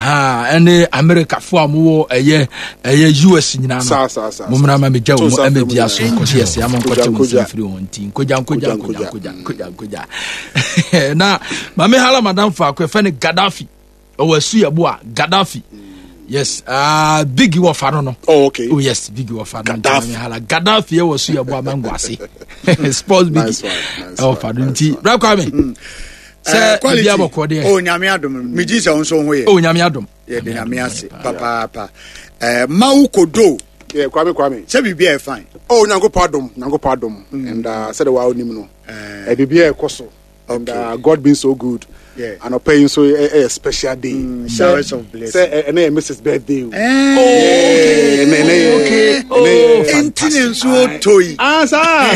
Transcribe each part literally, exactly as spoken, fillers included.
Ah, ɛne Amerikafoɔ a mowɔ ɛyɛ ɛyɛ U S nyinaa no, mommra ma megya wɔ mu ɛmɛ bia so nkɔhye yɛsɛ ama nkɔkyɛ wo nsɛm firi ho. Nti nkogya, nkogya, nkogya, nkogya, nkogya, nkogya. Na mame hala madam faako ɛfɛ ne Gaddafi, ɔwɔ asu yɛ bo a Gaddafi. Yes, uh, big wɔ fa no no. Oh, okay. Oh yes, big wɔ fa no. Gaddafi hala Gaddafi ɛwɔ asu yɛ bo a mango ase sports big ɛwɔ fa no. Nti bra Kwame, sɛ biribi abɔkɔ deɛ. O, Nyame adom, megye sɛ wo nso ho yɛ. O, Nyame adom. Yɛde Nyame ase papaapa. eh, mawo kodo. Yeah, Kwame, Kwame. Sɛ biribi a yɛ fine. Oh, Nyankopɔn adom, Nyankopɔn adom. mm. And uh, sɛde wa onim no, eh, biribi a ɛkɔ so and uh, God being so good. Yeah. Anɔpɛ yi nso ɛyɛ special day. Mm, showers of blessing. Sɛ ɛnɛ yɛ Missus birthday o. Oh, okay. Ɛnɛ yɛ okay. Oh, fantastic. Nti ne nso tɔ yi. Ah, saa.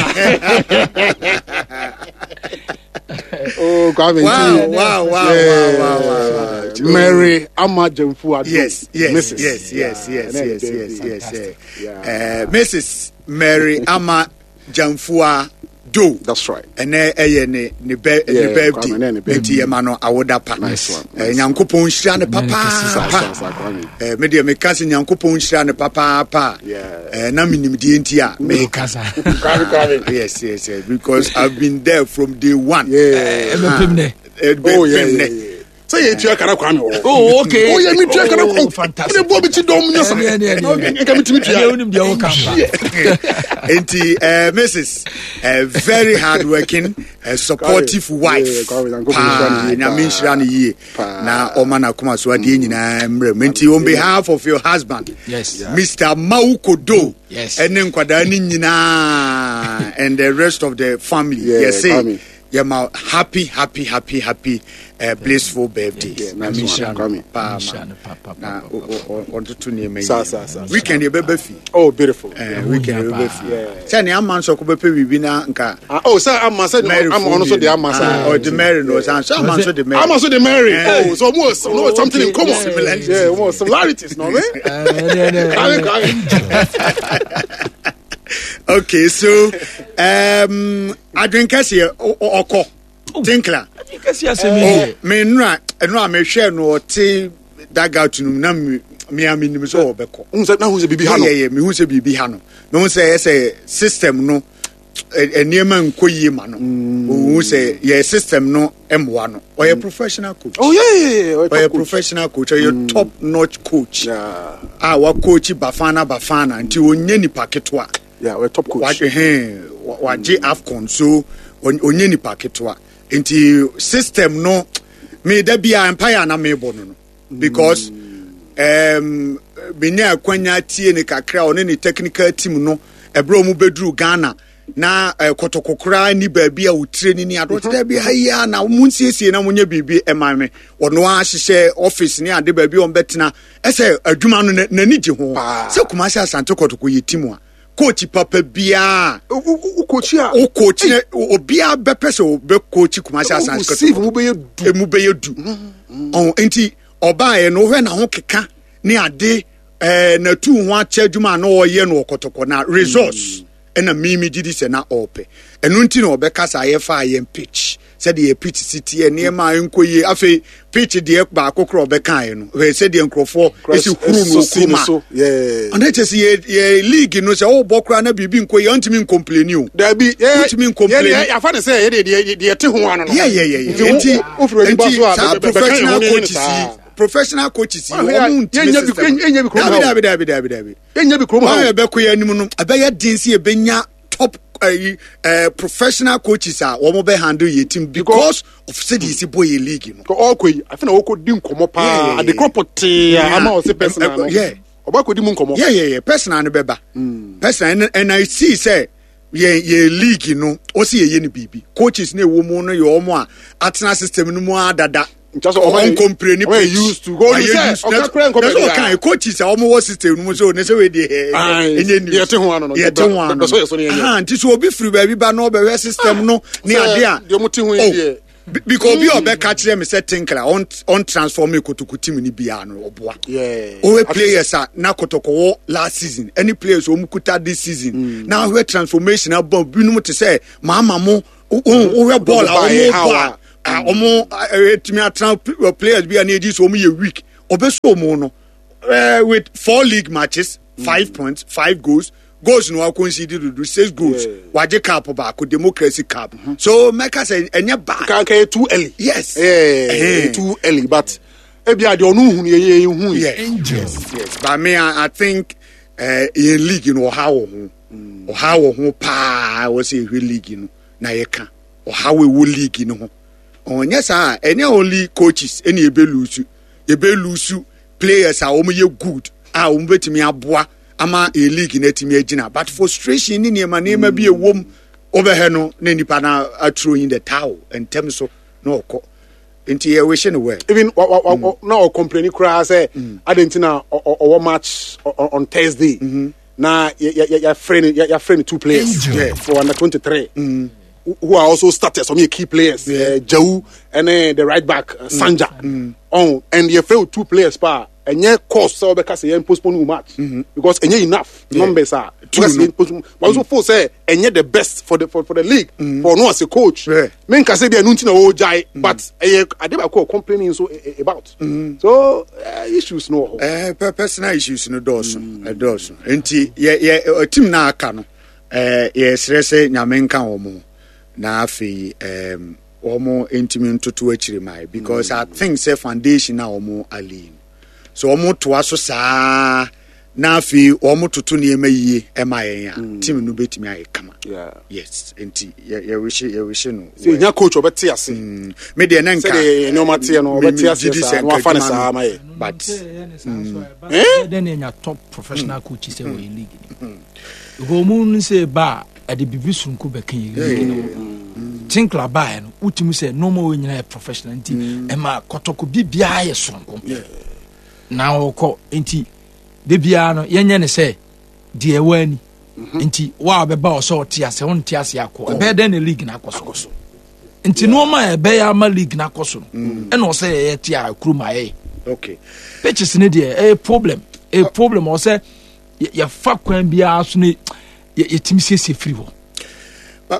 Oh, Kwame. Wow, wow, wow, wow, wow, wow. Mary Ama Jemfu Ado. Yes, yes, Missus Yes, yes, yes, yes, yes, yes, yes. Uh, Missus Mary Ama Jamfua Do. That's right. Ɛnɛ ɛyɛ ne ne bɛ ne birthday nti yɛ ma no awoda pa. Nyankopɔn nhyira ne papaapa. Me deɛ, meka sɛ Nyankopɔn nhyira ne papaapa. Na menim deɛ nti a meka. Yes yes yes because I've been there from day one. Yeah. Ɛbɛpem nɛ. Oh yeah, yeah, yeah. Sɛ yɛ tua kara, Kwame, wɔ. Oh, okay. Oh yeah, mi tua kara. Oh, fantastic. Mi bɔ mi ti dɔn mi nyɛ sa. Nka mi ti mi tua. Ɛnɛ onim deɛ ɔka mpa. Nti uh, Missus uh, very hard working, uh, supportive wife paa. Nyame nhyira no yie na ɔma n'akoma so adeɛ nyinaa mmerɛ mu. Nti on behalf of your husband, yes, Mister Maukodo, yes, ɛne nkwadaa no nyinaa and the rest of the family, Yeah, yɛsɛ yɛma happy, happy, happy, happy uh, blissful birthday. Nyame nhyira no paa ma na ɔntoto nneɛma yi. Weekend yɛbɛba fi. Oh, beautiful. uh, weekend yɛbɛba fi sɛ ne ama nso kɔbɛpɛ biribi na nka. Oh, sɛ ama sɛ ama ɔno so de ama sa. Ɔde Mary no ɔsan so ama nso de Mary. Ama so de Mary. Oh, so mo no something in common. Similarities. Yeah, more similarities no me. Kwame, Kwame. Okay, so um, adwenkɛseɛ ɔkɔ Tinkler. Adwenkɛseɛ asɛm yi deɛ. Me nnura nnura mehwɛ no, ɔte dugout no mu na me a menim sɛ ɔbɛkɔ. N sɛ na hu sɛ biribi ha no. Yɛ yɛ mehu sɛ biribi ha no, mehu sɛ ɛsɛ system no, nneɛma nkɔ yie ma no. Ohun sɛ yɛ system no mmoa no. Ɔyɛ professional coach. Oh yeah yeah yeah ɔyɛ professional coach, ɔyɛ top notch coach a wa coach Bafana Bafana, nti onye nipa ketewa. Yeah, ɔyɛ top coach. Wagye AFCON, so onye nipa ketewa. Nti system no, me da bi a mpaeɛ a na mebɔ no no because um, menya akwanya tie ne kakra, ɔne ne technical team no, ɛberɛ a ɔmu bɛduru Ghana na uh, Kɔtɔkɔ koraa ni baabi a wotire ni ni adeɛ ɔte dɛ bi ha yi a na mo nsiesie na monyɛ biribi ɛma me. Ɔno ahyehyɛ office ne ade, baabi a ɔmbɛtena, ɛsɛ adwuma no n'ani gye ho sɛ Kumasi Asante Kɔtɔkɔ yɛ team a coach papa biara o coach a o coach na obiara bɛpɛ sɛ ɔbɛ coach Kumasi Asante Kɔtɔkɔ. Kɔtɔkɔ Mu bɛyɛ du. Emu bɛyɛ du ɔn. Nti ɔbaayɛ no, wohwɛ n'aho keka ne ade, ɛɛ n'atu ho akyɛ adwuma a na ɔyɛ no ɔkɔtɔkɔ na results ɛna mímí gyi di sɛ na ɔɔpɛ ɛno. Nti na ɔbɛkasa yɛfa yɛn pitch, sɛdeɛ yɛ pitch si teɛ, nneɛma a nkɔ yie. Afei pitch deɛ baako korɔ ɔbɛkaeɛ no, hwɛ sɛdeɛ nkurɔfoɔ esi huru no kurom a ɔno kyɛ sɛ yɛ yɛ league no, sɛ ɔrebɔ koraa na biribi nkɔ yie, ɔntumi ncomplain o. Dabi. Wotumi ncomplain. Yɛfa ne sɛ yɛde deɛ deɛ te ho ano no. yɛ yɛ yɛ yɛ nti nti saa professional coaches yi professional coaches yi wɔn ntumi system. Dabi, dabi, dabi, dabi, dabi. Yɛnyɛ bi kurom ha. Wɔn a yɛbɛkɔ yɛn anim no, ɛbɛyɛ den sɛ yɛbɛnya top uh, uh, professional coaches a wɔn bɛ handle yɛ team because of sɛdeɛ esi bɔ yɛ league no. Ɔkɔ yi, afei na ɔkɔ di nkɔmɔ paa, adekorɔ pɔtee ama ɔsɛ personal no ɔba kɔ di mu nkɔmɔ. Yeah yeah yeah personal no bɛba, personal, and I see sɛ yɛn yɛn league no, ɔsi yɛ yɛ no biribi, coaches ne ɛwɔ mu no yɛ wɔn a atena system no mu adada. Ɔncomplain ni pitch used to go ayɛ used na sɛ ɔka coaches a wɔn wɔ system no mu so ne sɛ wei deɛ ɛnyɛ news. Yɛte ho ano no. Yɛte ho ano no, nti so obi firi baabi ba na ɔbɛhwɛ system no ne ade a deɛ ɔmo te ho yi deɛ. Because obi a ɔbɛka kyerɛ me sɛ Tinkler ɔn ɔn transform Kotoko team ni biara no, ɔboa. Ɔwɛ players a na Kotoko wɔ last season ɛne players a wɔn kuta this season na ahwɛ transformation aba, binom te sɛ maama mo wohwɛ bɔɔl a wɔn bɔ a wɔn ɛtumi atena, players bi a ne edi so wɔn yɛ weak, ɔbɛso mu no uh, with four league matches, five mm. points, five goals. Goals no concede do six goals. Yeah. Wagye cup baako, Democracy Cup. Mm-hmm. So mɛka sɛ ɛnyɛ bad. Kankan too early. Yes. Yeah, uh, too early, but ebi ade ɔno hu yɛ yɛ hu. Yes, yes, yes. But me, I, I think uh, in league no ɔha wɔ ho, ɔha wɔ ho paa. Wɔ sɛ ehwɛ league no na yɛ ka ɔha wɔ ɛwɔ league no ho. Ɔnyɛ saa, ɛnyɛ only coaches ɛna ebe lose, ebe lose players a wɔn yɛ good a wɔn bɛtumi aboa ama a league na atumi agyina, but frustration ne nneɛma nneɛma bi ɛwɔ mu wobɛhɛ no na nipa na aturo in the towel ntɛm so na ɔkɔ. Nti yɛ wish no well. Even wa wa wa na ɔ complain koraa sɛ adi nti na ɔwɔ match on Thursday na yɛ yɛ yɛafrɛ no yɛafrɛ no two players, yeah, for under twenty three mm. who are also starters, some key players, yeah. uh, Jau and uh, the right back uh, Sanja. Mm. Oh, and yɛfrɛ two players pa ɛnyɛ cost sɛ ɔbɛka sɛ yɛn postpone wo match mm-hmm. because ɛnyɛ enough, yeah, numbers are two no. Postpone, but also fo sɛ ɛnyɛ the best for the for, for the league, mm. for no as a coach, yeah. Me nka sɛ bi ɛnu nti na ɔgyae, but ɛyɛ ade baako complaining so about mm. so uh, issues no wɔ hɔ. Eh, personal issues no dɔɔso, ɛdɔɔso, nti yɛ yɛ team na aka no, ɛɛ yɛsrɛ sɛ Nyame nka wɔn na afei ɛɛm wɔn ntumi ntoto akyire maa, because mm. I think sɛ foundation a wɔn ali so wɔn toa so saa na afei wɔn toto nneɛma yie ɛma yɛn a, team no bɛtumi ayɛ kama. Yes, nti yɛ yɛwish yɛwish no. Sɛ nya coach ɔbɛte ase. Me deɛ ne nka sɛdeɛ nneɛma teɛ no, ɔbɛte ase saa na wafa ne saa ma yɛ. But dɛn na nya top professional coach sɛ wɔyɛ league ni because ɔmu no sɛ ba a ɛde biribi soronko bɛka yɛ league no. Tinkler baeɛ no, wotumi sɛ nneɛma wɔ nyinaa yɛ professional, nti ɛma Kɔtɔkɔ biribiara yɛ soronko na ɔkɔ. Nti de biara no yɛnyɛ ne sɛ deɛ ɛwɔ ani, nti wa a bɛba ɔsɛ ɔte ase, ɔnte ase akɔ, ɛbɛyɛ dɛn na league na akɔ so? Nti nneɛma a ɛbɛyɛ ama league na akɔ so no, ɛna ɔsɛ yɛyɛ te a kurom ayɛ. Okay pitches ne deɛ, ɛyɛ problem, ɛyɛ problem. Ɔsɛ yɛfa kwan biara so ne yɛtumi siesie firi hɔ.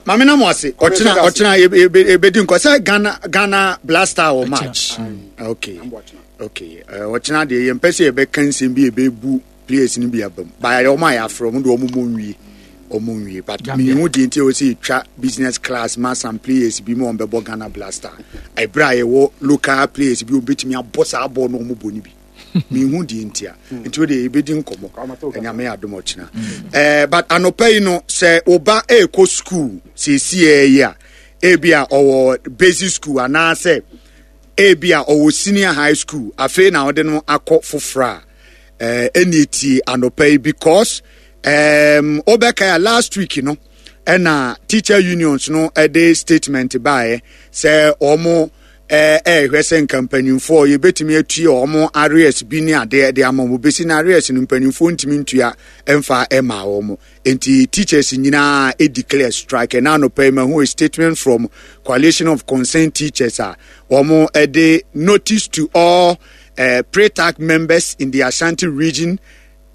Maame na mo ase, ɔkyena ɔkyena ebedi nkɔ sɛ ghana ghana Black Star wɔ match. okay okay ɔkyena deɛ yɛn mpɛ sɛ yɛbɛka nsɛm bi ebebu players no bi aba mu baayɛ. Wɔn a yɛafrɛ wɔn de wɔn mo nwie, wɔn nwie, but mihu deɛ nti a wɔsɛ yɛtwa business class ma some players bi mu wɔn bɛbɔ Ghana Black Star ɛbrɛ a yɛwɔ local players bi wɔn bɛtumi abɔ saa bɔɔl no wɔn bɔ no bi. Mihu deɛ nti a, nti o deɛ yɛbɛdi nkɔmɔ, Ɛnyame adom ɔkyena. ɛɛ but anɔpa yi no, sɛ ɔba ɛɛkɔ school siesie yi a, ebi a ɔwɔ basic school anaasɛ ebi a ɔwɔ senior high school, afei na ɔde no akɔ foforɔ a, ɛɛ ɛna etie anɔpa yi, because ɛɛm ɔbɛka a last week no ɛna teacher unions no ɛde statement baeɛ sɛ wɔn ɛɛ ɛɛhwɛ sɛ nka mpanyinfoɔ yɛbɛtumi atua wɔn arrears bi ne adeɛ de ama wɔn. Besi na arrears no mpanyinfoɔ ntumi ntua ɛmfa ɛma wɔn, nti teachers nyinaa declare strike. Ɛna anɔpa yi ma ho a statement from Coalition of Concerned Teachers a wɔn ɛde notice to all uh, pre-tac members in the Ashanti Region: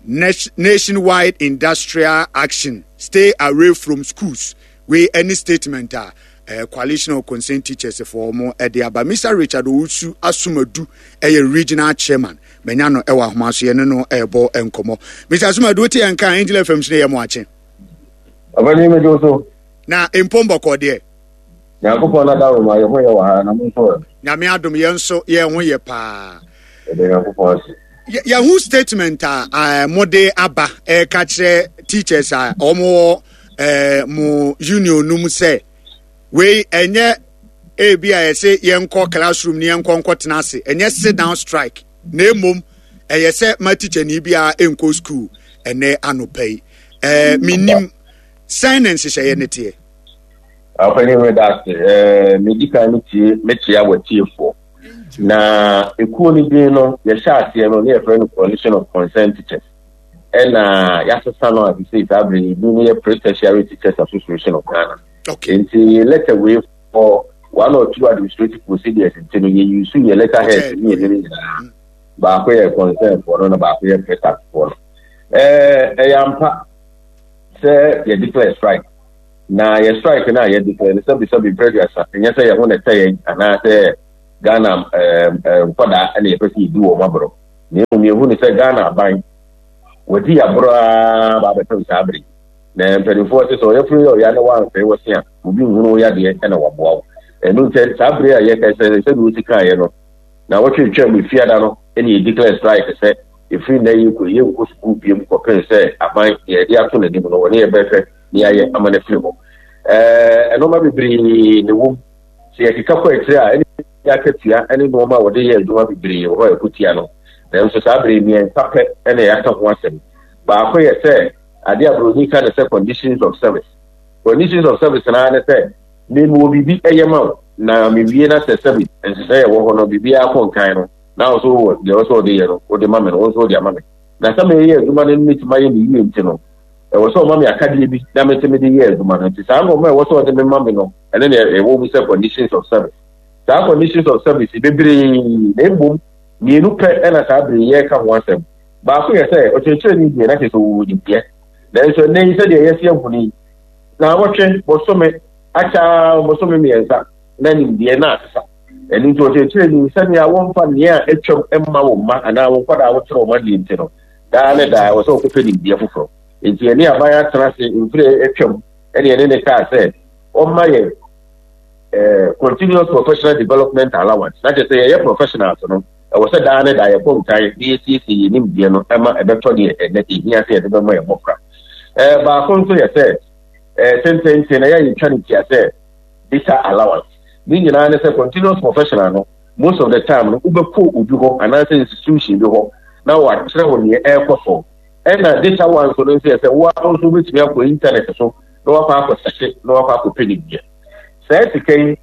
nationwide industrial action, stay away from schools. Wei any statement a uh, Coalition of Concerned Teachers for wɔn ɛde aba. Mister Richard Owusu Asomadu ɛyɛ regional chairman. Menya no ɛwɔ ahoma so, yɛne no ɛrebɔ nkɔmmɔ. Mister Asomadu, wote yɛn ka Angel F M so ne yɛ mo akye. Ɔbɛni mi do so. Na mpɔmbɔkɔ deɛ? Nyankopɔn na dawuro ma yɛ ho yɛ wɔ ha, na mo nso ɛ? Nyame adom, yɛn nso yɛn ho yɛ paa. Ɛdɛ Nyankopɔn ase. Yɛho statement a uh, mode aba ɛka kyerɛ teachers a wɔn wɔ uh, mo union no mu sɛ wei ɛnyɛ ebi a yɛsɛ yɛnkɔ classroom ne yɛnkɔ nkɔtena ase, ɛnyɛ sit down strike, na emom ɛyɛ sɛ ma teacher ni biara nkɔ school ɛnɛ anɔpa yi. ɛɛ menim sɛn na nhyehyɛeɛ ne teɛ? Ɔpɛni, mi da ase. ɛɛ medi kan mi tie mekyia wɔ tiefoɔ na ekuo no din no, yɛhyɛ aseɛ no ne yɛfrɛ no Coalition of Concerned Teachers, ɛna yɛasesa no a sisi saa abiri yi din no yɛ Pre-Tertiary Teachers Association of Ghana. Okay. Nti letter wei, for one or two administrative procedures nti no, yɛ use yɛ letter head ne yɛ ne nyinaa, baako yɛ concern foɔ no na baako yɛ pre-tax foɔ no. ɛɛ ɛyɛ ampa sɛ yɛ declare strike, na yɛ strike no a yɛ declare no, sɛbisɛbi mpɛduasa, ɛnyɛ sɛ yɛn ho na ɛtɛ yɛn anaasɛ Ghana ɛɛ ɛɛ nkwadaa ɛna yɛpɛ sɛ yɛdi wɔn aborɔ. Na mmom yɛhu ne sɛ Ghana aban wɔdi aborɔ ara ba abɛpem saa bere. Na mpanimfoɔ sɛ sɛ ɔyɛfunu yɛ ɔya na woamfɛe wɔ se a, obi nhunu wo yadeɛ ɛna waboa wo. Ɛno nti saa bere a yɛka sɛ sɛdeɛ wosi kaeɛ no, na wɔtwetwaa mu efiada no ɛna yɛ declare strike sɛ ɛfiri nnɛ yi kɔ yɛnkɔ sukuu biom kɔpem sɛ aban deɛ yɛde ato n'anim no wɔne yɛbɛhwɛ ne yɛayɛ ama no afiri hɔ. Ɛɛ nneɛma bebree na ɛwɔ mu. Sɛ yɛkeka kɔ akyire a, ɛne akatua ne nneɛma a wɔde yɛ adwuma bebree wɔ hɔ a ɛkɔtia no. Nanso saa bere mmiɛnsa pɛ na yɛaka ho asɛm. Baako yɛ sɛ adeɛ a buroni ka no sɛ conditions of service. Conditions of service naa ne sɛ mewɔ biribi ɛyɛ ma wo na mewie na sɛ service nhyehyɛ yɛ wɔ hɔ no biribiara kɔ nkan no na wo nso wɔ deɛ wɔ sɛ wɔde yɛ no wode ma me no wo nso wode ama me. Na sɛ meyɛ adwuma no metumi ayɛ ne yie nti no ɛwɔ sɛ ɔma me akadeɛ bi na mete mede yɛ adwuma no. Nti saa nneɛma a ɛwɔ sɛ ɔde me ma me no ɛne ne ɛwɔ mu sɛ conditions of service. Saa conditions of service bebree na mmom mmienu pɛ ɛna saa bere yɛreka ho asɛm. Baako yɛ sɛ ɔkyerɛkyerɛni deɛ na kyerɛ sɛ ɔwɔ nimdeɛ. Nanso ɛnnɛ yi sɛdeɛ yɛsi ahu no yi, naawɔtwe, bosome, akyɛ bosome mmiɛnsa na nimdeɛ na asesa. Ɛno nti ɔkyerɛkyerɛni sɛnea wɔmfa nea atwam mma wo mma anaa wo nkwadaa wokyerɛ wɔn adeɛ nti no, daa ne daa ɛwɔ sɛ wɔkɔpɛ nimdeɛ foforɔ. Nti ɛne aban atena ase mfiri atwam ɛne ɛne ne kaa sɛ ɔmma yɛ eh, continuous professional development allowance. Na kyerɛ sɛ yɛyɛ professionals no, ɛwɔ sɛ daa ne daa yɛkɔ nkan na yɛsiesie yɛn nimdeɛ no ɛma ɛbɛtɔ deɛ ɛnɛ ɛhia sɛ yɛde bɛma yɛn mmɔfra. Ɛɛ baako nso yɛ sɛ ɛɛ tententen na yɛayɛ twa ne tia sɛ data allowance. Ne nyinaa ne sɛ continuous professional no, most of the time no wobɛkɔ obi hɔ anaasɛ institution bi hɔ na wakyerɛ wo neɛ ɛrekɔ so. Ɛna data one nso no nso yɛ sɛ wo ara nso wobɛtumi akɔ internet so na wakɔ akɔsɛhye na wakɔ akɔpɛ nimdeɛ. Saa sika yi